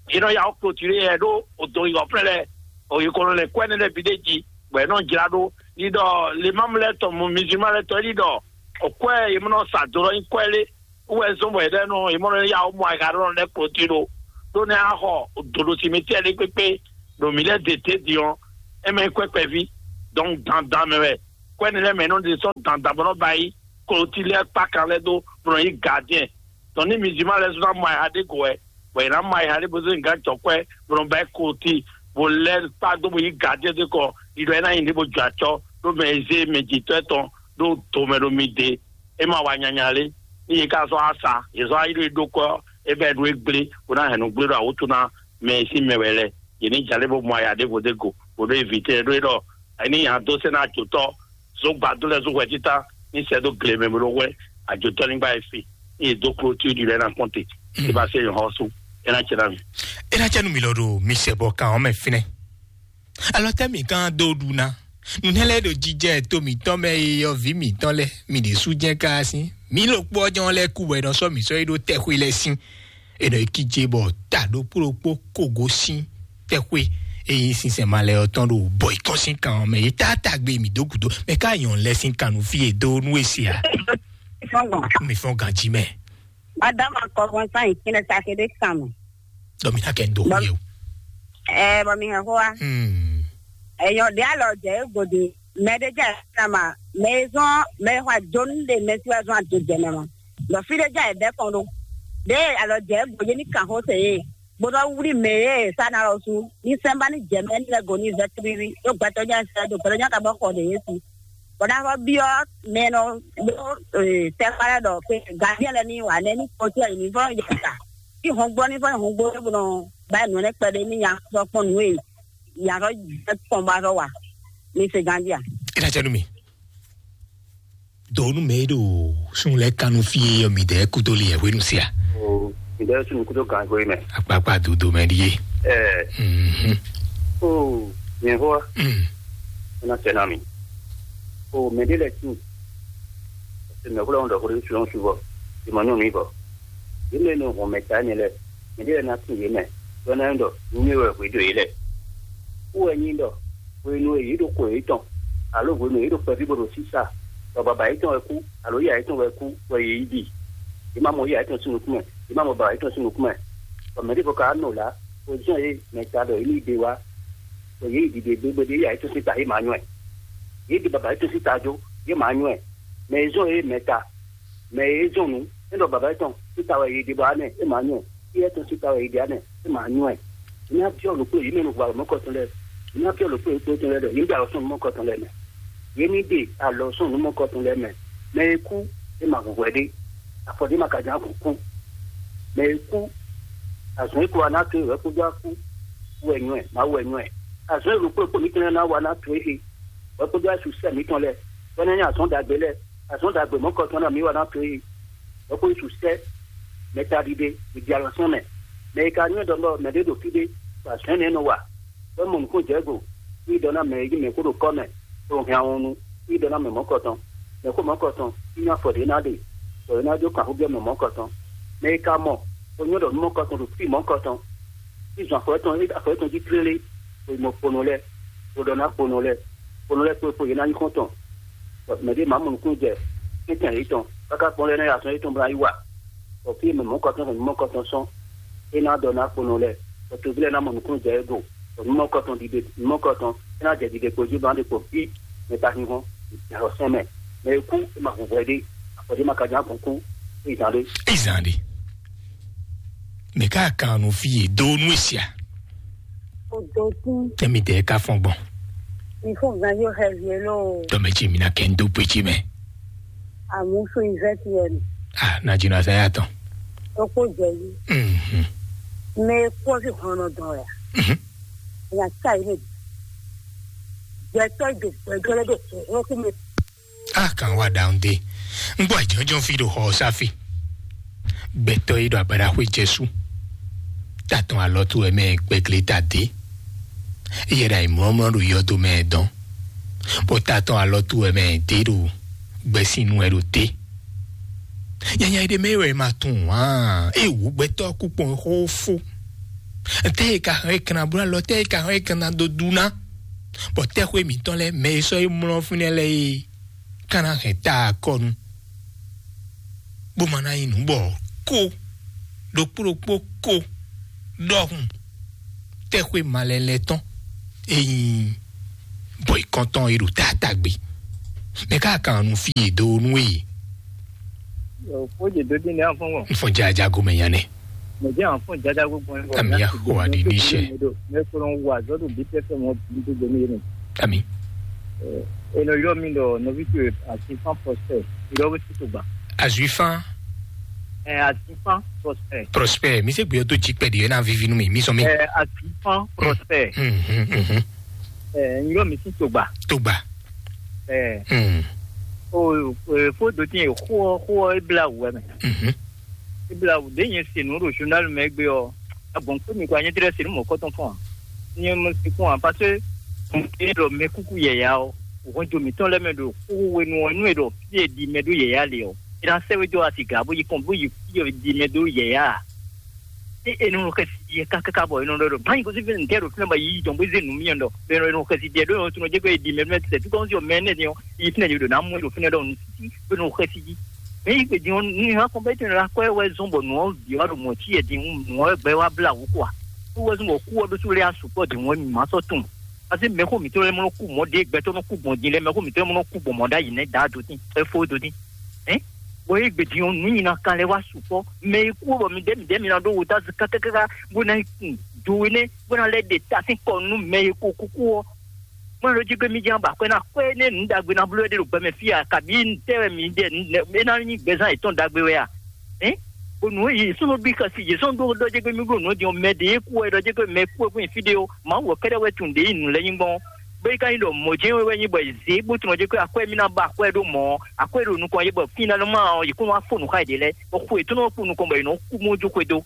yě nɔ ya ó klotwi lé yɛ ɖó odo yi ɔflɛ lɛ o yi kɔnɔ lɛ kwɛ ne lɛ bi ɖe ji bɔ yě nɔ jla ɖó. Yi ɖɔ lè má mlɔ tɔn mu mizima lɛ tɔn yi ɖɔ o kwɛ yě mɔ nɔ sa do lɔ nyi kwɛ lé wɛ zɔn bɔ yě ɖɔ nɔ yě mɔ nɔ ya ó mɔ aga ɖɔ lɛ klotwi ɖó ɖó ne axɔ doɖo simetiɛ lé kpékpé ɖo mǐ lɛ́ de te din ɔ́, é mɛ nyí kwɛ́ kpɛví. Donc dandan mɛ wɛ kwɛ́ ne lɛ́ɛ mɛ nɔ ɖe sɔ́ dandan bɔ nɔ ba yi klotwi lɛ́ɛ kpákan lɛ́ɛ dó bɔ nɔ nyí gardien. Donc ní mizima lɛ́ɛ sɔ́ ná mɔ ayǐha ɖé go wɛ bɔ yě ná mɔ ayǐha ɖé bó zé gǎn jɔ kwɛ́ bó nɔ ba yi klotwi bó lɛ́ kpá dó bó nyí gardien dó kɔ ɖiɖɔ é ná nyi ɖě bó jɔ acɔ ɖó mɛ e zé mɛ jǐtɔ́ tɔn ɖó do mɛ ɖo mi de. É ma wa nyanya lé. Ní yě ká zɔ́n asa, yě zɔ́n ayíɖó e ɖó kɔ́ é bɛ́ ɖó é gblé bó ná hɛn nǔ gblé ɖo awútu ná mɛ e sín mɛ wɛ lɛ́ɛ. Yě ní jalé bó mɔ aya ɖěvo dó go bó ɖó evitɛ ɖó é ɖɔ ní nya dó sɛ́ ná ajotɔ́ zó gbadó lɛ́ɛ zó hwɛ títá ní sɛ́ dó gle mɛ bó ɖó hwɛ ajotɔ́ ní gbá e fi ní yě dó kló tí ɖi lɛ́ɛ ná kpɔ́n te. Tí bá sɛ́ nyɔ̌ xɔ́sú é ná cɛ ná mi. É ná cɛ nú mi lɔ ɖo mi sɛ bɔ kan ɔ́ mɛ fínɛ́. Alɔ tɛ́ mǐ gán dó ɖu ná? Nǔnɛ́ lɛ́ɛ ɖo jijɛ to mǐtɔn mɛ e yɔví mǐtɔn lɛ́ɛ mi ɖě sú jɛ́n káá sín. Mǐ ɖokpó ɔ́ jɛ́n ɔ́ lɛ́ɛ kú bɔ è nɔ sɔ́ mǐ sɔ́ yi ɖó tɛxwé lɛ́ɛ sín. È nɔ yi kíjé bɔ ta ɖokpó ɖokpó kogo sín tɛxwé e nyí sinsɛn malɛ ɔ́ tɔn ɖo bɔ yi kɔn sín kan ɔ́ mɛ. Yě tá tagbe mǐ dó gǔdo mɛ ká nyɔ̌ lɛ́ɛ sín kan nú fí e dó nú e se a? Mi fɔ́n ganjí mɛ. Madama kɔfɔn san yi kínɛ sake ɖé kan mɛ. Dɔ mi ná kɛ ń dó xú yẹ o. Ɛ bɔ mi hɛn xó wa. Hmm. Ɛyɔ ɖe alɔ jɛ e gode mɛ ɖe jɛ na ma mɛ e zɔn mɛ e xɔ ajonu ɖe mɛ si wa zɔn ado jɛ mɛ ma. Dɔ fi ɖe jɛ e bɛ kɔn ɖo ɖe alɔ jɛ e gode ni kan xó se ye bó nɔ wlí mɛ e sa na lɔ su ní sɛnba ní jɛ mɛ ní lɛ go ní vɛ tlílí ɖó gbɛtɔ jɛ sɛ ɖo gbɛtɔ jɛ ka bɔ xɔ ɖe ye si. Bɔ ná xɔ byɔ mɛ nɔ ɖó tɛkpa lɛ ɖɔ pe gadiɛ lɛ ní wa nɛ ní kpɔtí ayi ní fɔ yɛ ta. Tí hɔn gbɔ ní fɔ hɔn gbɔ bó nɔ ba nɔ nɛ kpɛɖé ní nya sɔ kpɔn nǔ e nya sɔ jɛ kpɔn ba sɔ wa ní se gandia. É ná jẹ́ nú mi. Dɔwɔnu mɛ e ɖo sun lɛ kanu fie yɔ mi dɛ kudo li yɛ hwenu sia. O, mi dɛ sun kudo gan hwe mɛ. Akpakpa dodo mɛ ɖi ye. Ɛɛ. Mhm. O, nyɛ hɔ. Mm. Ena tɛ na mi. O, mɛ de lɛ tu. Se mɛ hwlɛ ŋdɔ hwlɛ su su vɔ. Di ma nɔ mi vɔ. Yi mɛ no hɔn mɛ ta ne lɛ. Mɛ de lɛ na tu ye mɛ. Dɔ na ŋdɔ. Nu mi wɛ hwe do ye lɛ. Wɛ nyi ɖɔ hwenu e yě ɖo xwe yětɔn, alo hwenu e yě ɖo kpɛví bó ɖo sísá, bɔ baba yětɔn wɛ kú, alo yíyá yětɔn wɛ kú, bɔ yě yi ɖi. Yě má mɔ yíyá yětɔn sín nukún mɛ, yě má mɔ baba yětɔn sín nukún mɛ. Bɔ mɛ ɖěvo ka wá nɔ là, bó zɔ́n yě mɛ ta ɖɔ yě ní yi ɖe wá, bɔ yě yi ɖiɖe gbégbé ɖé yíyá yětɔn sín ta yě má nywɛ́. Yě ɖe baba yětɔn sín ta jó, yě má nywɛ́. Mɛ e zɔ́n yě mɛ ta, mɛ e zɔ́n nǔ, é ɖɔ baba yětɔn sín ta wɛ yě ɖe bɔ ánɛ, é má nywɛ́. Yɛ tɔn sín ta wɛ yě ɖe ánɛ, é má nywɛ́. Yě ná byɔ́ lǒkpó yě mɛ nɔ hu alɔ mɔ̌kɔtɔn lɛ́ɛ. Yě ná byɔ́ lǒkpó yě kpótɔn lɛ́ɛ ɖɔ yě ní ɖe alɔ sɔ́ nú mɔ̌kɔtɔn lɛ́ɛ mɛ. Yě ní ɖe alɔ sɔ́ nú mɔ̌kɔtɔn lɛ́ɛ mɛ. Mɛ e kú, é ma hu hwɛ ɖé. Afɔ ɖé ma ka ján kú kú. Mɛ e kú, azɔ̌ e kó wa ná to é wɛ kpódó akú wɛ nywɛ́, Mawu wɛ nywɛ́. Azɔ̌ e lǒkpó lǒkpó mǐtɔn lɛ́ɛ ná wa ná to é he, wɛ kpódó asú sɛ mǐtɔn lɛ́ɛ, bɔ é ná nyí azɔ̌ ɖagbe lɛ́ɛ. Azɔ̌ ɖagbe mɔ̌kɔtɔn ná mǐ wa ná to é he. Wɛ kpódó su sɛ mɛ ta ɖiɖe, mǐ ɖi alɔ sɔ́ mɛ. Mɛ e ka nywɛ́ ɖɔ mɛ ɖé ɖo fí ɖé, bɔ azɔ̌ énɛ́ nɔ wa. Wɛ mɔ nǔkún jɛ go, ní ɖɔ ná mɛ e nyí mɛ kó ɖo kɔ́ mɛ, bó hɛn ahɔnnu, ní ɖɔ ná mɛ mɔ̌kɔtɔn. Mɛ kó mɔ̌kɔtɔn, ní nyí afɔ ɖě ná ɖe, bɔ é ná jó kanxú byɔ́ mɛ mɔ̌kɔtɔn. Mɛ e ka mɔ, bó nyɔ́ ɖɔ nú mɔ̌kɔtɔn ɖo fí mɔ̌kɔtɔn, ní zɔn afɔ étɔn, afɔ étɔn jí tlélé, bó yi mɔ kponɔ lɛ́ɛ, bó ɖɔ ná kponɔ lɛ́ɛ, kponɔ lɛ́ɛ kpó kpó yě ná nyí xɔ́ntɔn. Bɔ mɛ ɖé má mɔ nǔkún jɛ, tɛ́ntɛn yětɔn, káká kpɔ́n lɛ́ɛ ná yi azɔn yětɔn bó ná yi wa. Bɔ fí e mɛ mɔ̌kɔtɔn hɛn mɔ̌kɔtɔn sɔ́n, é ná ɖɔ ná kponɔ lɛ́ɛ, bɔ toví lɛ́ɛ ná mɔ nukúnnú jɛ é go, bɔ nǔmɔkɔtɔn ɖiɖe nǔmɔkɔtɔn é ná jɛ ɖiɖe kpo jí bɔ ná ɖe kpo fí mɛ ka hínhɔ́n, yǎyɔ́ sɛn mɛ. Mɛ e kú é ma hu hwɛ ɖé, afɔ ɖé ma ka ján kɔn kú, é zán ɖé. Ezan ɖe. Mɛ ká kan nu fí e do nu esia. Odotin. Tɛmi dɛ ka fɔn gbɔn. Ifo gan yo hɛ vie lo. Tɔmɛ tsi mi na kɛ ndo pe tsi mɛ. Amusu izɛti yɛ mi. Ah, na dzi na sa ya tɔn. Okpo jɛ yi. Mhm. Mɛ kpɔ fi hɔnɔ dɔn ya. Mhm. Ya sa yi ne. Jɛ tɔ do gbɛjɔ lɛ do hɔn ku mi. A kan wa ɖawun dé. Un gbɔ jɔnjɔn fi ɖo xɔ ɔ́ sá fi. Gbɛtɔ́ e ɖo abaɖaxwé Jesu. Tatɔn alɔ towe mɛ gbɛgle ta dé. Yɛ ɖo ayǐmlɔ́mlɔ́ ɖo yɔdo mɛ dɔn. Bɔ tatɔn alɔ towe mɛ dé ɖo gbɛsín nu wɛ ɖo dé. Nyanya ɖé mɛ wɛ ma tunwun ǎ. E wǔ gbɛtɔ́ kú kpɔn xó fó. Tɛ e ka hɛn e kan ná bló alɔ, tɛ e ka hɛn e kan ná dó dú ná. Bɔ tɛxwé mǐtɔn lɛ́ɛ mɛ e sɔ́ yi mlɔ́ fínɛ́ lɛ́ɛ é ka ná hɛn ta akɔnu, bó ma ná nyí nǔ bɔ kó ɖokpó ɖokpó kó ɖɔhun tɛxwé malɛlɛ tɔn e nyí bɔ ikɔntɔn e ɖo taatagbe. Mɛ ká kan nu fí e dó nú e. Yo, kó dze dó dín ní afɔn wɔ. N fɔ jaja gomɛ nya nɛ. Mo jẹ́ àwọn fún ìjájá gbogbo ẹ̀. Àmì Yahowa di ní iṣẹ́. Mẹ́kúrò ń wà zọ́dún bí tẹ́fẹ́ wọn bí gbogbo ní yẹn. Àmì. Ènìyàn yọ mi lọ nọvítù àti fán pọ̀sẹ̀ ìrọ́wé sí tó gbà. Azui fan. Ẹ àti fán pọ̀sẹ̀. Prospère, mi se gbé tó jí pẹ̀lú ẹ̀ náà vivi nú mi, mi sọ mi. Ẹ àti fán pọ̀sẹ̀. Mhm, mhm. Ẹ yọ mi sí tó gbà. Tó gbà. Ẹ. Mhm. O fó dòtí yẹn xó xó ẹ bla wù ẹ mẹ. Mhm. Ibla ɖě nyɛ se nǔ ɖo journal mɛ gbé ɔ́, agbɔ̌n kpé mi kɔ anyɛ́ tlɛ se nú mɔ̌kɔtɔn fɔ́n ǎ. Nyɛ mɔ sekún ǎ, parce que é ɖɔ mɛkúkú yɛ̌yá ɔ́, hɔnjo mǐtɔn lɛ́ɛ mɛ ɖo xóxó we nu ɔ́, nú è ɖɔ fí e ɖi mɛ ɖó yɛ̌yá le ɔ́, é ná sɛ́ wé dó asigǎ bó yi kɔn bó yi fí e ɖi mɛ ɖó yɛ̌yá ǎ. É è nɔ xɛsi yɛ kákáká bɔ è nɔ ɖɔ ɖɔ báyìí kó sí fí ntɛ́ ɖo fínɛ́ bɔ yí jɔn bó zé nǔ mì ɖɔ è nɔ xɛsi jɛ ɖó è nɔ tunɔ jɛ kó è ɖi mɛ mɛ tɛ́ tó kɔn sí ɔ mɛ nɛ́ din ɔ́, yi fínɛ́ yě ɖo ná mú é ɖo fínɛ́ ɖɔ nǔ sí bó nɔ xɛsi jí. Mɛ yi gbèdín ɔ́, ní hàn kɔn bɛ tɛn la kɔ wɛ zɔn bɔ nɔ bia ɖo mɔ ci yɛ din, nɔ gbɛ wa bla wu kɔ. Kú wɛ zɔn bɔ kú wɛ ɖó sú lé asukɔ din wɛ mi ma sɔ tun. Asi mɛ ko mi tɔ lɛ mɔ kú mɔ de gbɛtɔ nɔ kú gbɔn din lɛ, mɛ ko mi tɔ lɛ mɔ kú gbɔn mɔ da yi nɛ da do tin, e fo do tin. Hein? Bɔ yi gbèdín ɔ́, nu nyina kan lɛ wa sukɔ. Mɛ yi kú bɔ mi dɛ mi dɛ mi na ɖó wo ta zi kakakaka bó na kun do we nɛ bó na lɛ de ta sín kɔ nú mɛ yi ko kúkú ɔ́. Mɔ lɔ jí gbé mì jɛ́n ba akwɛ́ ná akwɛ́ énɛ́ nǔ ɖagbe ná bló ɖé ɖo gbɛ mɛ fí a, kabǐ ntɛ́ wɛ mǐ ɖe nǔ nɛ́ é ná nyí gbɛzán yětɔn ɖagbe wɛ a? Hɛ̌n? Bɔ nǔ e yě súnnu bí xɛsi yě sɔ́ ɖó ɖɔ jɛ gbé mì bló nǔ din ɔ́, mɛ ɖě kú wɛ ɖɔ jɛ gbé mɛ kú wɛ kún nyi fí ɖé ó, Mawu wɛ kɛ́ɖɛ́ wɛ tunwun ɖě yi nǔ lɛ́ɛ nyí gbɔn ɔ́. Bó yi ka nyí ɖɔ mɔ̌ jɛ́n wɛ nyí bɔ è zě bó tunwun jɛ gbé akwɛ́ mì ná ba akwɛ́ ɖó mɔ̌ ɔ́, akwɛ́ ɖo nukɔn yě bɔ fínɛ́ ná má ɔ́, yě kó wá fó nǔ xá yě ɖě lɛ́ɛ, bɔ xwe yětɔn ɔ́ kpo nukɔn bɔ yě nɔ kú mɔ jó xwedó.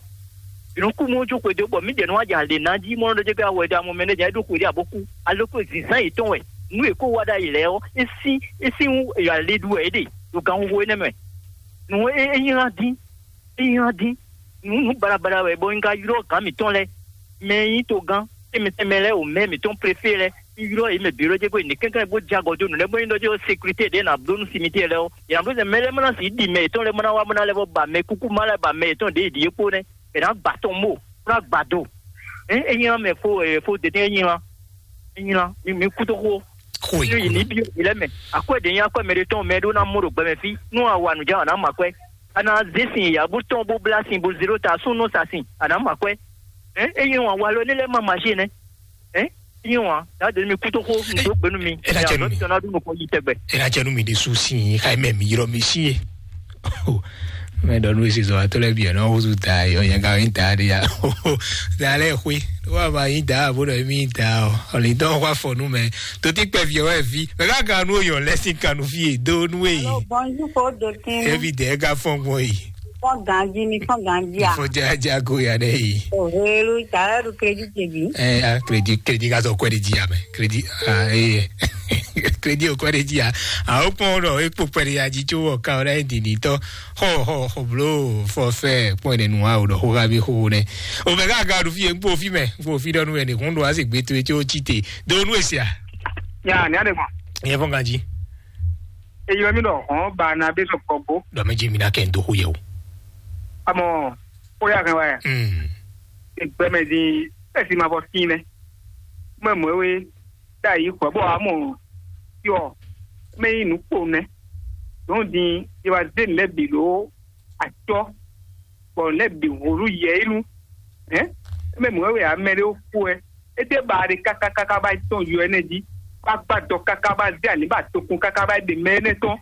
Yě nɔ kú mɔ jó xwedó bɔ mǐdɛɛ nɔ wá jɛ alě ná jí mɔ ɖɔ jɛ gbé awɔ ɖa mɔ mɛ nɛ jɛ ɖó xwedó abo kú. Aloko zǐnzán yětɔn wɛ nú è kó wá ɖ'ayǐ lɛ́ɛ ɔ́, é sín é sín wú è alě ɖu wɛ é ɖe ɖo ganxixo énɛ́ mɛ. Nǔ e é nyí hán dín, é nyí hán dín. Nǔ nǔ baɖabaɖa wɛ bɔ un ka ylɔ́ gǎn mǐtɔn lɛ́ɛ, mɛ e nyí togán tɛnmɛ tɛnmɛ lɛ́ɛ o mɛ mǐtɔn préfé lɛ́ɛ, un ylɔ́ yě mɛ bǐ ɖɔ jɛ gbé nǔ kɛ́nkɛ́n bó jɛ agɔ dó nǔ lɛ́ɛ bó nyí ɖɔ jɛ sécurité ɖě nǎ bló nú simitiɛ lɛ́ɛ ɔ́, yě nǎ bló sɛ mɛ lɛ́ɛ mɔ ná sixú ɖi mɛ yětɔn lɛ́ɛ mɔ ná wá mɔ ná lɛ́ vɔ ba mɛ kúkú má lɛ́ɛ ba mɛ yětɔn ɖě yi ɖi é kpó nɛ́. È nǎ gba tɔn bó, bó ná gba do. Ě é nyí mɛ fó e fó dete é nyí lan. É nyí lan. Mi mi kú tó xó. Xó é. Ní kú yi ní lɔ. Bí mi lɛ́ mɛ. Akwɛ́ ɖě nyí akwɛ́ mɛ ɖé tɔn mɛ ɖó ná mɔ ɖo gbɛ mɛ fí. Nú a wa nǔ jɛ a nǎ mɔ akwɛ́. A nǎ zé sin yǎ bó tɔn bó blá sin bó zé ɖó ta sún nɔ sa sin. A nǎ mɔ akwɛ́. Ě é nyí wan wa lɔ ní lɛ́ má maʒé nɛ́. Ě é nyí wan. Yǎ dě mi kú tó xó. Ndo gbenu mi. É ná jɛ nú mi. Tɔn ná ɖu nukɔn yi tɛgbɛ. É ná jɛ nú mi ɖésú sín xá mɛ mi ylɔ́ mi sín é. Mɛ ɖɔ nú esi zɔ atɔ lɛ biɛ nɔ wozu da yɔ yɛ ga yin da de ya. Da lɛ xwe. Wa ma yin da bo ɖɔ mi da o. Ɔli dɔ wa fɔ nu mɛ. Toti kpɛ viɛ wɛ vi. Mɛ ka ga nu yɔ lɛ sin kanu fi e do nu e. Allô, bonjour, fo dotin. Evi de ga fɔn gbɔn yi. Fɔn ganji mi fɔn ganji a. Fɔn ja ja go ya ne yi. O helu ta du crédit bi. Eh, ah, crédit, crédit ka sɔ kwɛ de ji ya mɛ. Crédit, ah, eh. Crédit o kwɛ de ji ya. A o kpɔn ɖɔ e kpo kwɛ de ya ji tso wɔ ka o ɖe di ni tɔ. Xɔ xɔ xɔ blo fɔ fɛ kpɔn ɖe nu a o ɖɔ xo ga bi xo ne. O mɛ ka ga ɖu fi e kpo fi mɛ, kpo fi ɖɔ nu wɛ ne kun ɖo a se gbe to e tso tsi te. Do nu e sia. Ya, ni a de kɔn. Ye fɔn ganji. Eyɔ mi ɖɔ hɔn ba na be sɔ kɔ bo. Ɖɔ mɛ ji mi na kɛ n do xo ye o. Amɔ, xó ya hɛn wɛ. Mm. Egbɛmɛ din, esi ma bɔ sin nɛ. Mɛ mɔ we, ta yi xɔ bɔ amɔ, yɔ, mɛ yi nu kpo nɛ. Donc din, ye wa de nɛ bi lo, atɔ, bɔ nɛ bi holu yɛ inu. Hein? Mɛ mɔ we amɛ de ko e. Ete ba de kaka kaka ba tɔn yɔ ene di. Ba gba dɔ kaka ba de ani ba tokun kaka ba de mɛ ene tɔn.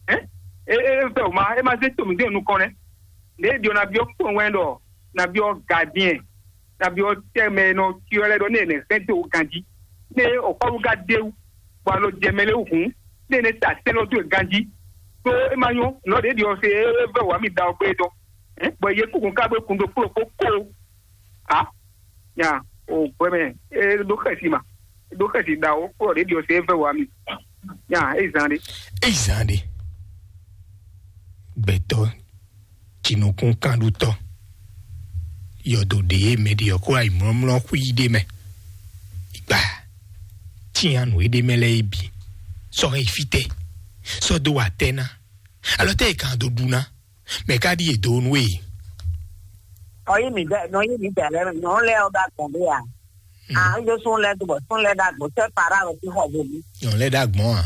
Hein? E e e fɛ o ma, e ma se to mi de nukɔn nɛ. Ne e ɖiɔ na biɔ kpɔn wɛn ɖɔ, na biɔ gardien, na biɔ tɛmɛ nɔ tiɔ lɛ ɖɔ ne ne sɛn te o ganji. Ne o kɔlu ga de wu, bɔ alo jɛ mɛ le hun, ne ne ta sɛn lɔ do ganji. To e ma nyɔ, nɔ de ɖiɔ se e vɛ wa mi da o gbe dɔ. Hein? Bɔ ye kukun ka be kun do kplo ko ko. A? Nya, o gbɛmɛ, e ɖo xɛsi ma. E ɖo xɛsi da o, kplo de ɖiɔ se e vɛ wa mi. Nya, e zan de. Eyi zan ɖe, gbɛtɔ jinukúnkanɖutɔ yɔdo ɖe e mɛ ɖi ɔ́ kó ayi mlɔ́mlɔ́ xwí ɖé mɛ. Igba, tían nǔ e ɖ'é mɛ lɛ́ɛ é bǐ, sɔ́ hɛn yi fítɛ́, sɔ́ dó wa tɛ́ ná, alɔ tɛ́ e kan dó ɖu ná, mɛ ka ɖíe dó nú we? Nɔ yí mǐdɛɛ, nɔ yí mǐdɛɛ lɛ́ɛ, nyɔ̌nu lɛ́ɛ ɔ́ ɖo agbɔ̌n ɖé a? Ǎ, yó sún lɛ́ɛ dó bɔ sún lɛ́ɛ ɖo agbɔ̌n, sɛ́ Fara ɖo fí xɔ vo mí. Nyɔ̌nu lɛ́ɛ ɖo agbɔ̌n a?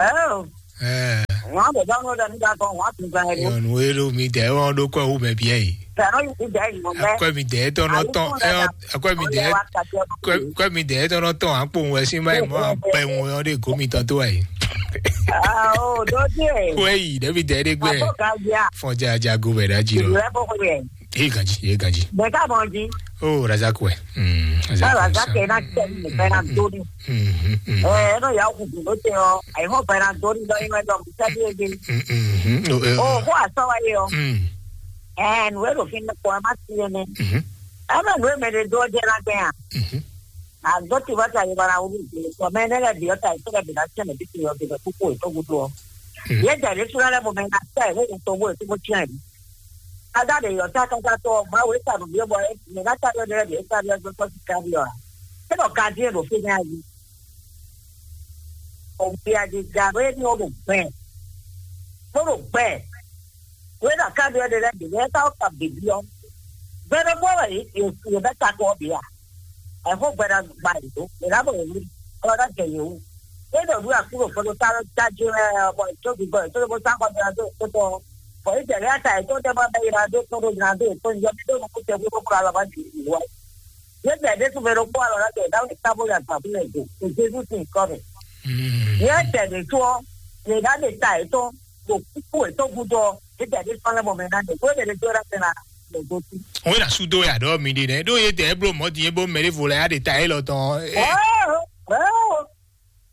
Ɛɛ, Ɛɛ, wǎn bɛ̌ dɔ́ nú ɖɔ mí ɖo agbɔ́n, wǎn tún zán ɛ ɖó. Nyɔ̌nu e ɖo mǐdɛɛ ɔ́ ɖó kɔ wú mɛ bíɛ yi. Sɛ nɔ yí mǐdɛɛ yi mɔ mɛ. Akwɛ mǐdɛɛ tɔn nɔ tɔn, ɛ, akwɛ mǐdɛɛ, akwɛ, akwɛ mǐdɛɛ tɔn nɔ tɔn akpowun wɛ sín má yi mɔ akpɛwun ɔ́ ɖe gǒ mitɔn tó wɛ yi. Ah, oh, dodie. Wɛ yi, ɖe mǐdɛɛ ɖe gbɛ. Abo ka bia. Fɔn ja ja go bɛ ɖa ji lɔ. Ìlú ẹ kókó yẹ. Ye ganji, ye ganji. Bẹ̀ká mọ̀ jí. Oh, Razak wɛ. Mm, Razak. Báwo Razak yẹn náà tẹ̀ ní ìfẹ́ náà dórí? Mm, mm, mm. Ẹ ẹ náà yà ó kùkù ló tẹ ọ. Àìhàn bẹ̀rẹ̀ náà dórí lọ inú ẹjọ́ mi sẹ́bí ege. Mm, mm, mm. Oh, eh, Oh, kó àsọ wáyé ọ. Mm. Ẹ nù ẹ lò fi ń pọ ẹ má sí ẹni. Mm. Ẹ náà nù ẹ mẹ lè dó ọjọ́ náà gbẹ hàn. Mm. Àgọ́ tí wọ́n ti àyè bára wúlò ìgbìmọ̀ sọ mẹ́ ẹ lẹ́bi ọ̀tá ìṣẹ́lẹ̀ bìnnà tí ẹ̀mí ti yọ bìnnà púpọ̀ ètò gbogbo ọ. Mm. Yẹ jàdé súná lẹ́mọ̀ mẹ́ náà tẹ̀ ẹ̀ wọ́n tó wọ́n ètò mọ́ tiẹ̀ rí. Ada de yɔ ta kaka tɔ mla wo eta ɖo biɔ bɔ ne na ta ɖɔ ɖe ɖe eta ɖɔ gbɔ kɔ sika ɖi ɔ. E ɖɔ ka ɖi ɖo fi nya yi. O bi a di ga ɖo e ni o ɖo gbɛ. Ko ɖo gbɛ. Wo e ɖɔ ka ɖɔ ɖe ɖe ɖe ne ta o ka bibi ɔ. Gbɛ ɖe bɔ wɛ ye ye bɛ ta kɔ bi a. Ɛfɔ gbɛ ɖe gba yi do. E la bɔ ye wuli. Ɔ ɖe jɛ ye wu. E ɖɔ ɖu akú ɖo fɔ ɖo ta ɖo ta dzi wɛ bɔ e tso bi bɔ e tso bo sa kɔ ɖe ɖo to tɔ. Bɔn Izraɛli ata yětɔn tɛ́ bɔ bɛ́ ylɔ́ dó kpɔ́n ɖó nylá dó yětɔn yɔ mì ɖó nukúnsin búbú kplɔ́ alɔ bá jǐ wǔ wá. Yě bɛ́ ɖésú mɛ ɖokpó alɔ ná jɛ Dawudi tábó ya gbǎ fún mɛ do, ɖo Jezu sín nyǐkɔ mɛ. Yě tɛ ɖě tó ɔ́, yě ná ɖe ta yětɔn ɖo kúkú yětɔn gúdo ɔ́, yě tɛ ɖé sɔ́ lɛ́ mɔ mɛ ná ɖe, bó ɖe ɖé dó ɖá sɛn ná ɖe gosín. Wọ́n yà súdó yà ɖɔ mi ɖe nɛ ɖó yé dɛ bló mɔ̌ din bó mɛ ɖé vo lɛ yá ɖe ta yé lɔ tɔn. Ɔ́, ɔ́,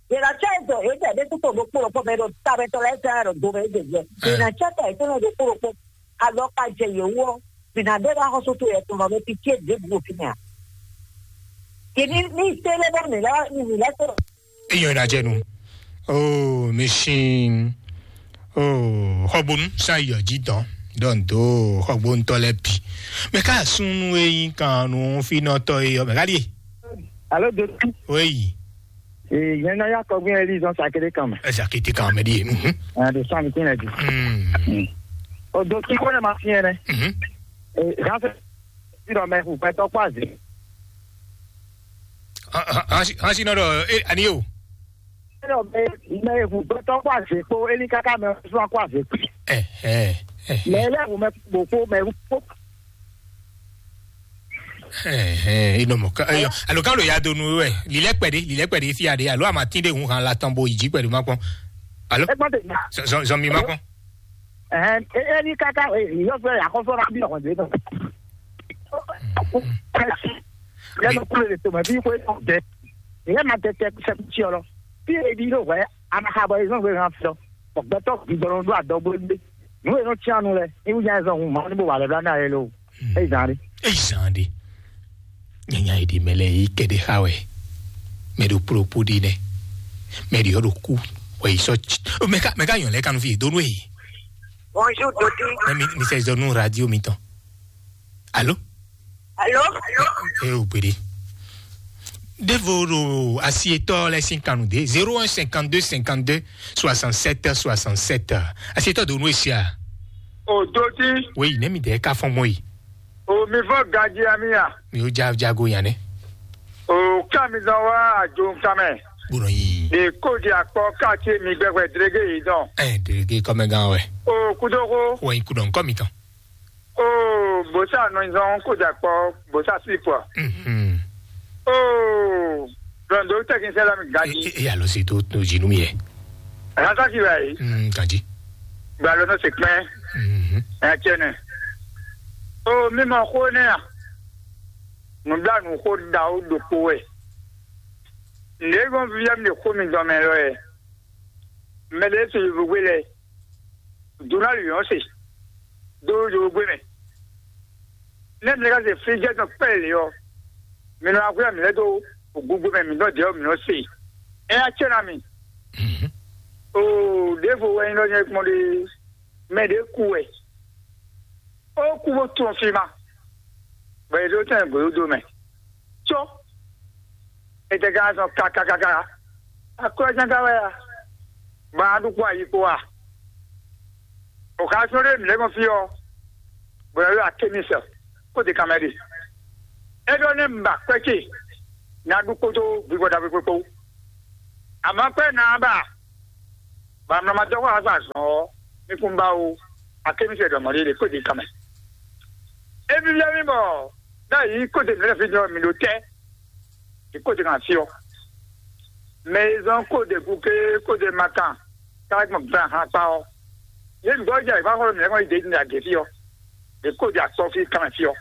Yě ná cɛ dɔ yě jɛ ɖé kúkú ɖokpó ɖokpó mɛ ɖo tamɛtɔ lɛ́ɛ tɛ ɖo do mɛ yě jɛ. Yě ná cɛ dɔ yě tɛnɛ ɖokpó ɖokpó. Alɔ ka jɛ yě wú ɔ́, mǐ ná ɖe ɖo axɔ́sú towe yɛtɔn lɔ mɛ fí cé ɖěbǔ ɖo fínɛ́ ǎ. Yě ní ní télé bɔ mǐ lɛ́ mǐ lɛ́ tó. Eyɔn ina jɛ nu. Oh, machine. Oh, xɔbonu sa yɔ ji dɔn. Dɔn do xɔbonutɔ lɛ bi. Mɛ ka sunu eyin kan nu finɔtɔ eyɔ mɛ ka die. Alo dotu. Oui. Ee, yẹn nɔ ya kɔgbɛn Elizɔn Sakele kan mɛ. Ɛ Sakele kan mɛ ɖie. Mhm. Ɛ do sɔn mi tin lɛ di. Mm. O do ti ko ne ma fiɛ nɛ. Mhm. Ee, gan fɛ ti dɔ mɛ hu gbɛtɔ kpɔ aze. Hansi nɔ dɔ e ani o. Dɔ mɛ mɛ hu gbɛtɔ kpɔ aze kpo eli kaka mɛ sɔn kpɔ aze kpi. Ɛ ɛ ɛ. Mɛ lɛ hu mɛ kpo kpo mɛ hu kpo. Ɛhɛn, inɔ mɔ ká eyɔ alo ká lo ya do nu wɛ lilɛ kpɛɖe lilɛ kpɛɖe fi aɖe alo amatin ɖe hun han la tɔn bo yi dzi kpɛɖe ma kpɔn alo Ẹ gbọ́n tèmi. Zɔn zɔn mi ma kpɔn. Ɛhɛn, e- eli kaka yɔ fɛ yakɔfɔ na bi ɔkɔn de tɔ. Lẹnu kúrò lè tòmɔ bí kò é tɔ dẹ. Ìyẹn máa tẹ tẹ sẹkútsí ọ lọ. Bí ebi ló wẹ anahabọ yìí náà wé hàn fi lọ. Ọ̀gbẹ́tọ̀ gbígbọ́n ló dó àdọ́gbó gbé. Nú ènú tí a nu lɛ, ní wúnyá ẹ zɔ hun màá ní bó wà lẹ́bí lánàá yẹn lé o. Ẹ zàn rí. Eyi zan ɖe. Nyanya yi ɖi mɛ lɛ yi kɛ ɖe xa wɛ. Mɛ ɖo kplokpo ɖi nɛ. Mɛ ɖi ɔ ɖo ku. Wɛ yi sɔ tsi. O mɛ ka mɛ ka yɔn lɛ kanu fi do nu e. Bonjour Dodi. Mɛ mi mi sɛ zɔ nu radio mi tɔn. Alo. Alo. E o gbede. Devo ɖo asietɔ lɛ sin kanu de zéro un cinquante-deux cinquante-deux soixante-sept soixante-sept. Asietɔ do nu e sia. O doti. Wei, nɛ mi dɛ ka fɔn mɔ yi. O mi fɔ ganji ami a. Mi o ja jago yan nɛ. O ka mi zan wa ajo nkan mɛ. Bono yi. De ko di akpɔ ka ti mi gbɛgbɛ drege yi dɔn. Ɛ, drege kɔmɛ gan wɛ. O kudoko. Wɔ yi kudɔn kɔ mi tɔn. O bosa nɔ zɔn ko di akpɔ bosa slip wa. Mhm. O blɔndo tɛkinisɛ la mi E, ganji. e, e alɔ si to to jinu mi yɛ. Rasa ki wa yi. Mm, ganji. Gba lɔ nɔ se kpɛ. Mhm. Ɛ tiɛ nɛ. O mi ma xo nɛ a. Nubla nu xo da o ɖokpo wɛ. Nɖe gbɔn via mi xo mi dɔn mɛ lɔ yɛ. Mɛ ɖe to yovo gbe lɛ. Dona luyɔn se. Do yovo gbe mɛ. Ne mi ka se flijɛ tɔn kpɛ le ɔ, mi nɔ akwɛ́ mi lɛ do ogbugbo mɛ mi nɔ jɛ mi nɔ se. Ɛ ya cɛ na mi. Mhm. O ɖevo wɛ nyí lɔ nyɛ kpɔn ɖe. Mɛ ɖe ku wɛ. O ku bó tún fi ma. Bɔ yě ɖó tɛn gběwúdo mɛ. Có. È tɛ ka zɔn kakakaka. Akwɛ́ zán ka wɛ a? Ba ɖu kpó ayi kpó a? O ka sɔ́ ɖé mǐ lɛ́ gbɔn fí ɔ́, bɔ yɛ ɖo akémisɛ kó de kanmɛ ɖe. É ɖɔ nɛ́ un ba kwɛ́ ce ná ɖu kpódó vivɔ ɖaxó kpó. Amɔ̌ kwɛ́ ná ba, bɔ amlɔ ma dɔ́ xó azɔn azɔn ɔ́, mi kún ba ó, akémisɛ ɖɔ mɔ̌ ɖé kó de kanmɛ. É vívɛ́ mì bɔ ɖ'ayǐ kó de mǐ lɛ́ fí jɔ mǐ ɖo tɛ́. Kóde kan fí ɔ́. Mɛ e zɔ́n kóde gúké kóde makan káwé gbɔn gbɛn ahan kpá ɔ́, yě nǔgbó jɛ ìgbà xɔlɔ mǐ lɛ́ɛ kɔn yi dě ní agě fí ɔ́, ɖě kóde akpɔ fí kanmɛ fí ɔ́.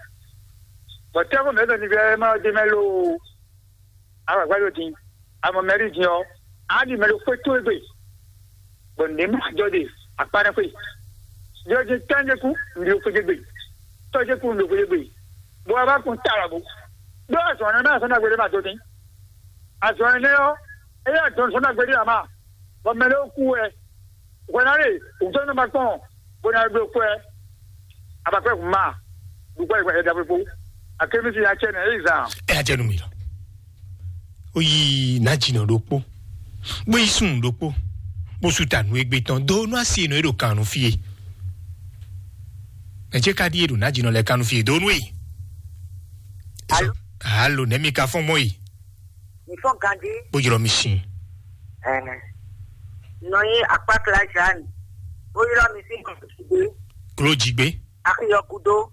Bɔ tɛ́xɔ mǐ lɛ́ɛ ɖo nivɛ́ ma ɔ́ dé mɛ lóo, agbǎgbá ɖo din, amɔ mɛ ɖi din ɔ́, á ɖi mɛ ɖo xwé towe gbe, bɔ nǔɖé ma jɔ ɖe akpá nɛ́ xwé. Ɖiɖɔ din tɛ́njɛkú, nǔɖé xwé gbe, tɔ́jɛkú, nǔɖé xwé gbe, bɔ a bá kun ta lɔ̌ bó. Ɖó azɔ̌ nɛ́ mɛ azɔ̌ nagbe ɖé ma dó dín. Azɔ̌ énɛ́ ɔ́, é yɛ dɔn sɔ́ nagbe ɖé ǎ ma, bɔ mɛ lɛ́ɛ kú wɛ. Hwɛ ná ɖe wǔtɔ́ nɔ ma kpɔn, bó ná ɖó kwɛ, abakpɛ́ hun ma, ɖu kwɛ yi ɖaxó kpó. Akémisi ya cɛ nɛ é yi zan. Ɛ adze nu mi lɔ. Ó yi nǎjínɔ ɖokpó, bó yi sun ɖokpó, bó su ta nǔ égbé tɔn dó nú asi e nɔ é ɖo kan nú fí e. Ɛ jẹ́ ká ɖíe ɖo nǎjínɔ lɛ́ɛ kan nú fí e dó nú e. Alo. Alo, nɛ̌ mi ka fɔ́n mɔ yi? Mi fɔ́n ganjí. Bó ylɔ́ mi sin. Ɛɛ. Nɔ nyi akpákla Jeanne. Bó ylɔ́ mi sín kɔ̀kɔ̀tìgbé. Kló jí gbé. Axiyɔ gúdó.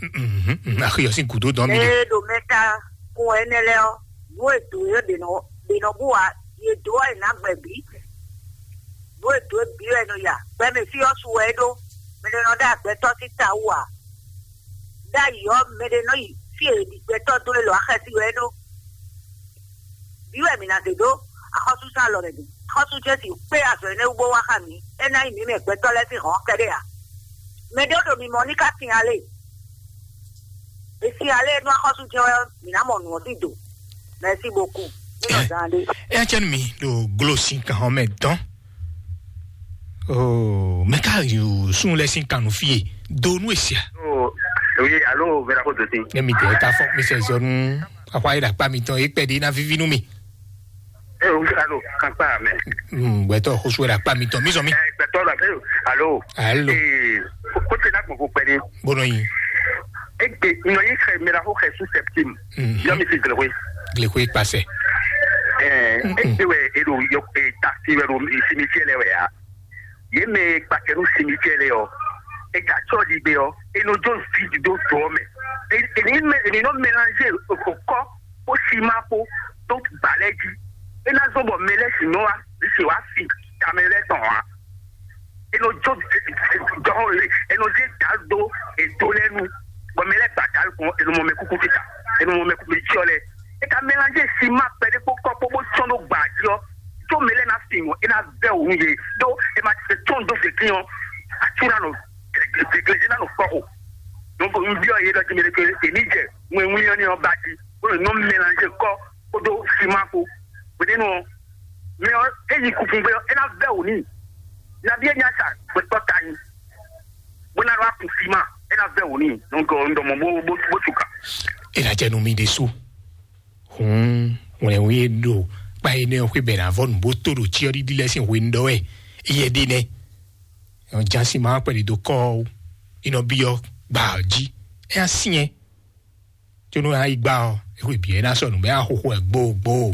Mhm, mhm, axiyɔ sín gúdó dɔn mi ɖe. Ee, ɖo mɛ ta kun ɛnɛ lɛ ɔ́, nú e dǒ é ɖe nɔ ɖe nɔ bú wa, yě dó wɛ nǎ gbɛ bǐ. Nú e dǒ é bǐ wɛ nɔ ya. Gbɛmɛ fí ɔ́ su wɛ é ɖó. Mɛ ɖé nɔ ɖó agbɛtɔ́ sín ta wú ǎ. Ɖ'ayǐ ɔ́, mɛ ɖé nɔ yi fí e è ɖi gbɛtɔ́ dó é lɔ axɛ́sí wɛ é ɖó. Vǐ wɛ mǐ ná zé dó axɔ́súzán alɔ mɛ din. Axɔ́sú Jezu kpé azɔ̌ énɛ́ wú bó wá xá mǐ. É ná nyí mǐ mɛ gbɛtɔ́ lɛ́ɛ sín hɔ̌n kɛ́ɖɛ́ ǎ. Mɛ ɖé ɖo mi mɔ ní ká sin alé. Mi sin alé nú axɔ́sú jɛ́n wɛ ɔ́, mǐ ná mɔ nǔ ɔ́ sín do. Merci beaucoup. Mí nɔ zán ɖé. Ɛ cɛn mi ɖo glo sin kan hɔn mɛ dɔn. Oh, mɛ ka yu sun lɛ sin kan nú fie do nú esia. Oh, oui, allô, Vera Kototin. Ne mi tɛ ka fɔ mi sɛ zɔnu akwa yi ɖakpa mi tɔn ekpɛ ɖi na vivi nú mi. Eh, oui, allô, kankpa mɛ. Hmm, gbɛtɔ xosu yi ɖakpa mi tɔn mi zɔ mi. Eh, gbɛtɔ la, eh, allô. Allô. Eh, ko te na gbɔn ko pɛ ni. Bono yi. Egbe nɔ yi xɛ mera xo xɛ su septim. Mhm. Yɔ mi si glewe. Glewe kpasɛ. Eh, egbe wɛ e do yɔ e ta si wɛ do simitiɛ lɛ wɛ ya. Ye mɛ e kpakɛ nú simitiɛ lɛ ɔ, e ka tsɔ ɖi gbé ɔ, e nɔ jó vidi dó dɔɔ mɛ. E e ní mɛ e ní nɔ mélange okɔ kó sima kpó tó gbalɛ jí. E ná zɔn bɔ mɛ lɛ si nɔ wa si wa si tamɛ lɛ tɔn wa. E nɔ jó dɔn e nɔ dé da dó edo lɛ nu. Bɔ mɛ lɛ gba da kɔn e nɔ mɔ mɛ kuku tita, e nɔ mɔ mɛ kuku tsiɔ lɛ. E ka mélange sima kpɛɖé kpó kɔ kpó bó tsɔn ɖó gba jí ɔ, tó mɛ lɛ ná fi ŋɔ e ná vɛ wǔ ye. Ɖó e ma tɔn dó fèkín ɔ, atsúra nɔ gleglezi ná nɔ kpɔ o. Donc n biɔ ye ɖɔ ti mɛ ɖe ke e ní jɛ ŋwɛnwlí ɔ ní ɔ ba jí bó nɔ mélange kɔ kpódó sima kpó. Hwenɛ́nu ɔ, mɛ ɔ e yi kunkun gbé ɔ, e ná vɛ wǔ n'i. Nabí e ní asa gbɛtɔ́ ta nyi bó ná ɖó akun sima, e ná vɛ wǔ n'i. Donc un ɖɔ mɔ bó bó bó tsuka. E ná jɛ nu mi ɖe su. Hǔn wlɛnwí e ɖo kpa énɛ́ ɔ́ xwé bɛ̌ ná vɔ nǔ bó tó ɖo cyɔ́ɖiɖi lɛ́ɛ sín hwenu ɖɔ wɛ éyɛ́ ɖe nɛ́. Jǎsin ma kpɛɖi dó kɔ́ ɔ́. Inɔ byɔ́ gbaa jí, é ná syɛ́n. Có nú a yi gbá ɔ́, é xwe bǐ é ná sɔ́ nǔ mɛ axoxo wɛ gbógbó.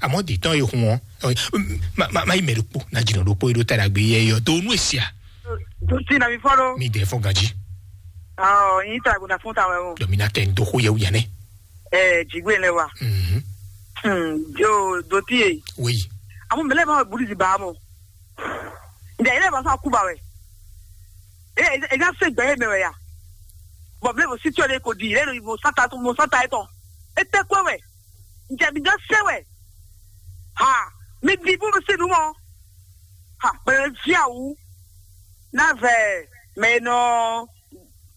Àmọ́ dǐtɔ́n e hun ɔ́, ɛ, má, má, má yi mɛ ɖokpó ná jǐnɔ ɖokpó e ɖó ta ɖagbe yɛ yɔ dó nú e sia. Dutí na mi fɔ́n ɖó. Mi dɛ fɔ́n ganjí. Ɔ yín ta gbọdọ fún ta wẹ o. Dɔ mi ná tẹ ń dó xó yẹ wúyà nɛ. Ɛ jigbe lɛ wa. Mhm. Hmm, jo dotí ye. Oui. Àmọ́ mẹlẹ́ bá wà bùrú ti bá a mọ̀. Ǹjẹ́ ilé ìbáṣà kú bá wẹ̀? Ẹ ẹ ẹ ká ṣe gbẹ yẹn mẹ wẹ̀ ya? Bɔn mi lè fò sí tí o lè kò di, lè lò ìbò sáta tó mo sáta yẹn tán. E tẹ́ kó wẹ̀. Ǹjẹ́ mi jọ ṣe wẹ̀? Ha, mi di bó mi ṣe nu mọ́. Ha, bẹ̀rẹ̀ fi àwù. Ná vẹ̀ mẹ nọ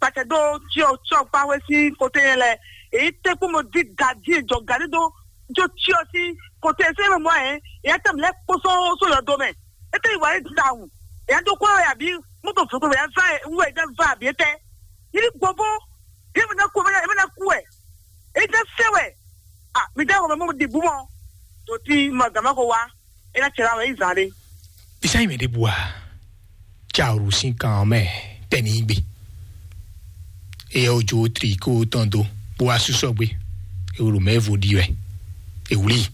pàtẹ dó tí o tí o pa wé sí kote yẹn lẹ. Èyí tẹ́ kó mo di gàdí ìjọ gàdí dó jó tí o sí kote yẹn sẹ́yìn mọ́ yẹn. Ìyá tẹ̀ mi lẹ́ kpósó só yọ do mẹ́. Ete yi wa yi da wu. Ya do ko ya bi moto foko ya va wu ya va bi ete. Yiri bobo. Ye me na ku me na me na ku e. E da se we. Ah, mi da ko mo di bu mo. To ti ma ga ma ko wa. E na chera we izare. Bisa yi me de bua. Cha ru sin kan me teni gbe. Eye ojo tri ko tɔn do. Bua susɔ gbe. E wulu me vo di we. E wuli.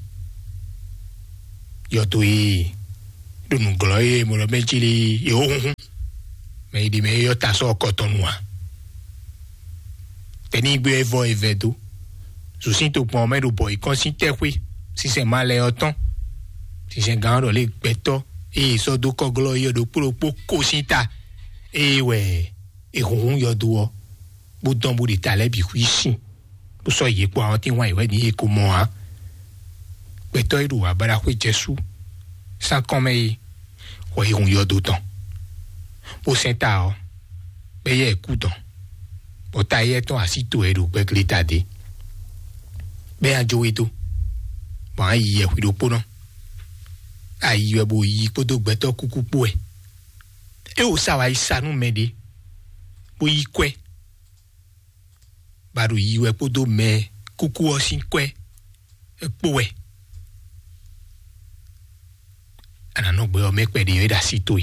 Yɔdo e ɖo nǔglɔ́ e mɔ ɖɔ mɛ jí lé e wó hunhun. Mɛ yi ɖi mɛ e yɔ ta sɔ́ kɔtɔnu ǎ. Tɛnígbe e vɔ e vɛ dó. Zǔsín tokpɔn mɛ ɖo bɔ yi kɔn sín tɛ́xwé. Sísɛn ma lɛ ɔ́ tɔn. Sísɛn gán ɖɔ lé gbɛtɔ́ e sɔ́ dó kɔglɔ́ e yɔ ɖokpó ɖokpó kó sín ta. Eye wɛ e hunhun yɔdo ɔ́, bó dɔn bó ɖe ta lɛ́ bǐ xwí sin. Bó sɔ́ yě kpó àwọn tí wọ́n yě wɛ ní yě ko mɔ ǎ. Gbɛtɔ́ e ɖo abaɖaxwé Jɛsu sín akɔ́nmɛ é, wɔ é hun yɔdo tɔn, bó sɛn ta ɔ́, bɔ éyɛ́ ɛ kú dɔn, bɔ ta éyɛ́ tɔn así to ɛ ɖo gbɛgleta ɖé, bɔ é ná jó we dó, bɔ á yi yɛhwi ɖokpónɔ. Ayi wɛ bó yi kpódó gbɛtɔ́ kúkú kpó wɛ. É wǒ sa wá yi sa nú mɛ ɖé, bó yí kwɛ́, bá ɖo yi wɛ kpódó mɛ kúkú ɔ́ sín kwɛ́ kpó wɛ. A nǎ nɔ gbɛ ɔ́ mɛ kpɛɖé ɔ́ é ɖo así towe.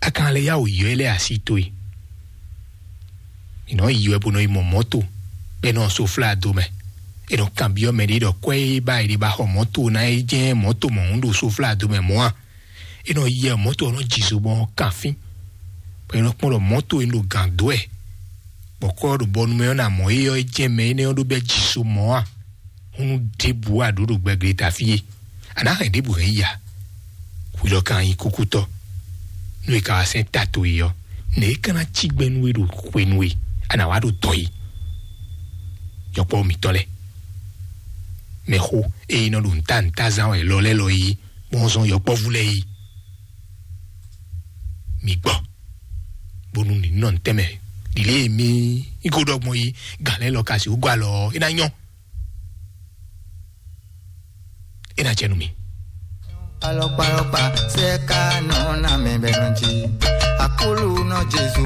A ka lɛ́ yá wǔ yɔ é lɛ́ así towe. È nɔ yi wɛ bó nɔ yi mɔ mɔ̌to, bɔ é nɔ soflá do mɛ. È nɔ kanbyɔ́ mɛ ɖé ɖɔ kwɛ́ e ba è ɖe ba xɔ mɔ̌to ná é jɛ́n mɔ̌to mɔ̌hun ɖo soflá do mɛ mɔ̌ a? É nɔ yɛ mɔ̌to ɔ́ nɔ ji zo bɔ ɔ́ kan fín, bɔ é nɔ kpɔ́n ɖɔ mɔ̌to e un ɖo gǎn dó wɛ, bɔ kɔ́ ɔ́ ɖo bɔnu mɛ ɔ́ ná mɔ éyɔ́ é jɛ́n mɛ énɛ́ ɔ́ ɖó bɛ́ ji so mɔ̌ a? Húnú ɖěbǔ a ɖǒ ɖo gbɛgleta fí é, a nǎ hɛn ɖěbǔ hɛn yi a? Hwi lɔ ka nyí kúkútɔ́, nú è ka wá sɛ́n ta towe ɔ́, nɛ̌ é ka ná cí gbɛ́ nú we ɖo hwenu e a nǎ wá ɖo dɔ̌n é? Yɔkpɔ́ mǐtɔn lɛ́ɛ, mɛxó e nɔ ɖo nǔta nǔta zán wɛ lɔ lɛ́ɛ lɔ é, bɔn zɔn yɔkpɔ́vú lɛ́ɛ é. Mi gbɔ, bónú ní nɔ ntɛ́nmɛ ɖi lě e mi yi ko ɖɔ gbɔn yi gǎn lɛ́ɛ lɔ ka sixú gɔ́ alɔ ɔ́, é ná nyɔ́, é ná jɛ nú mi. Alɔkpalɔkpa sɛ ka nɔ na mɛ bɛ nɔ ji. Akulu nɔ Jesu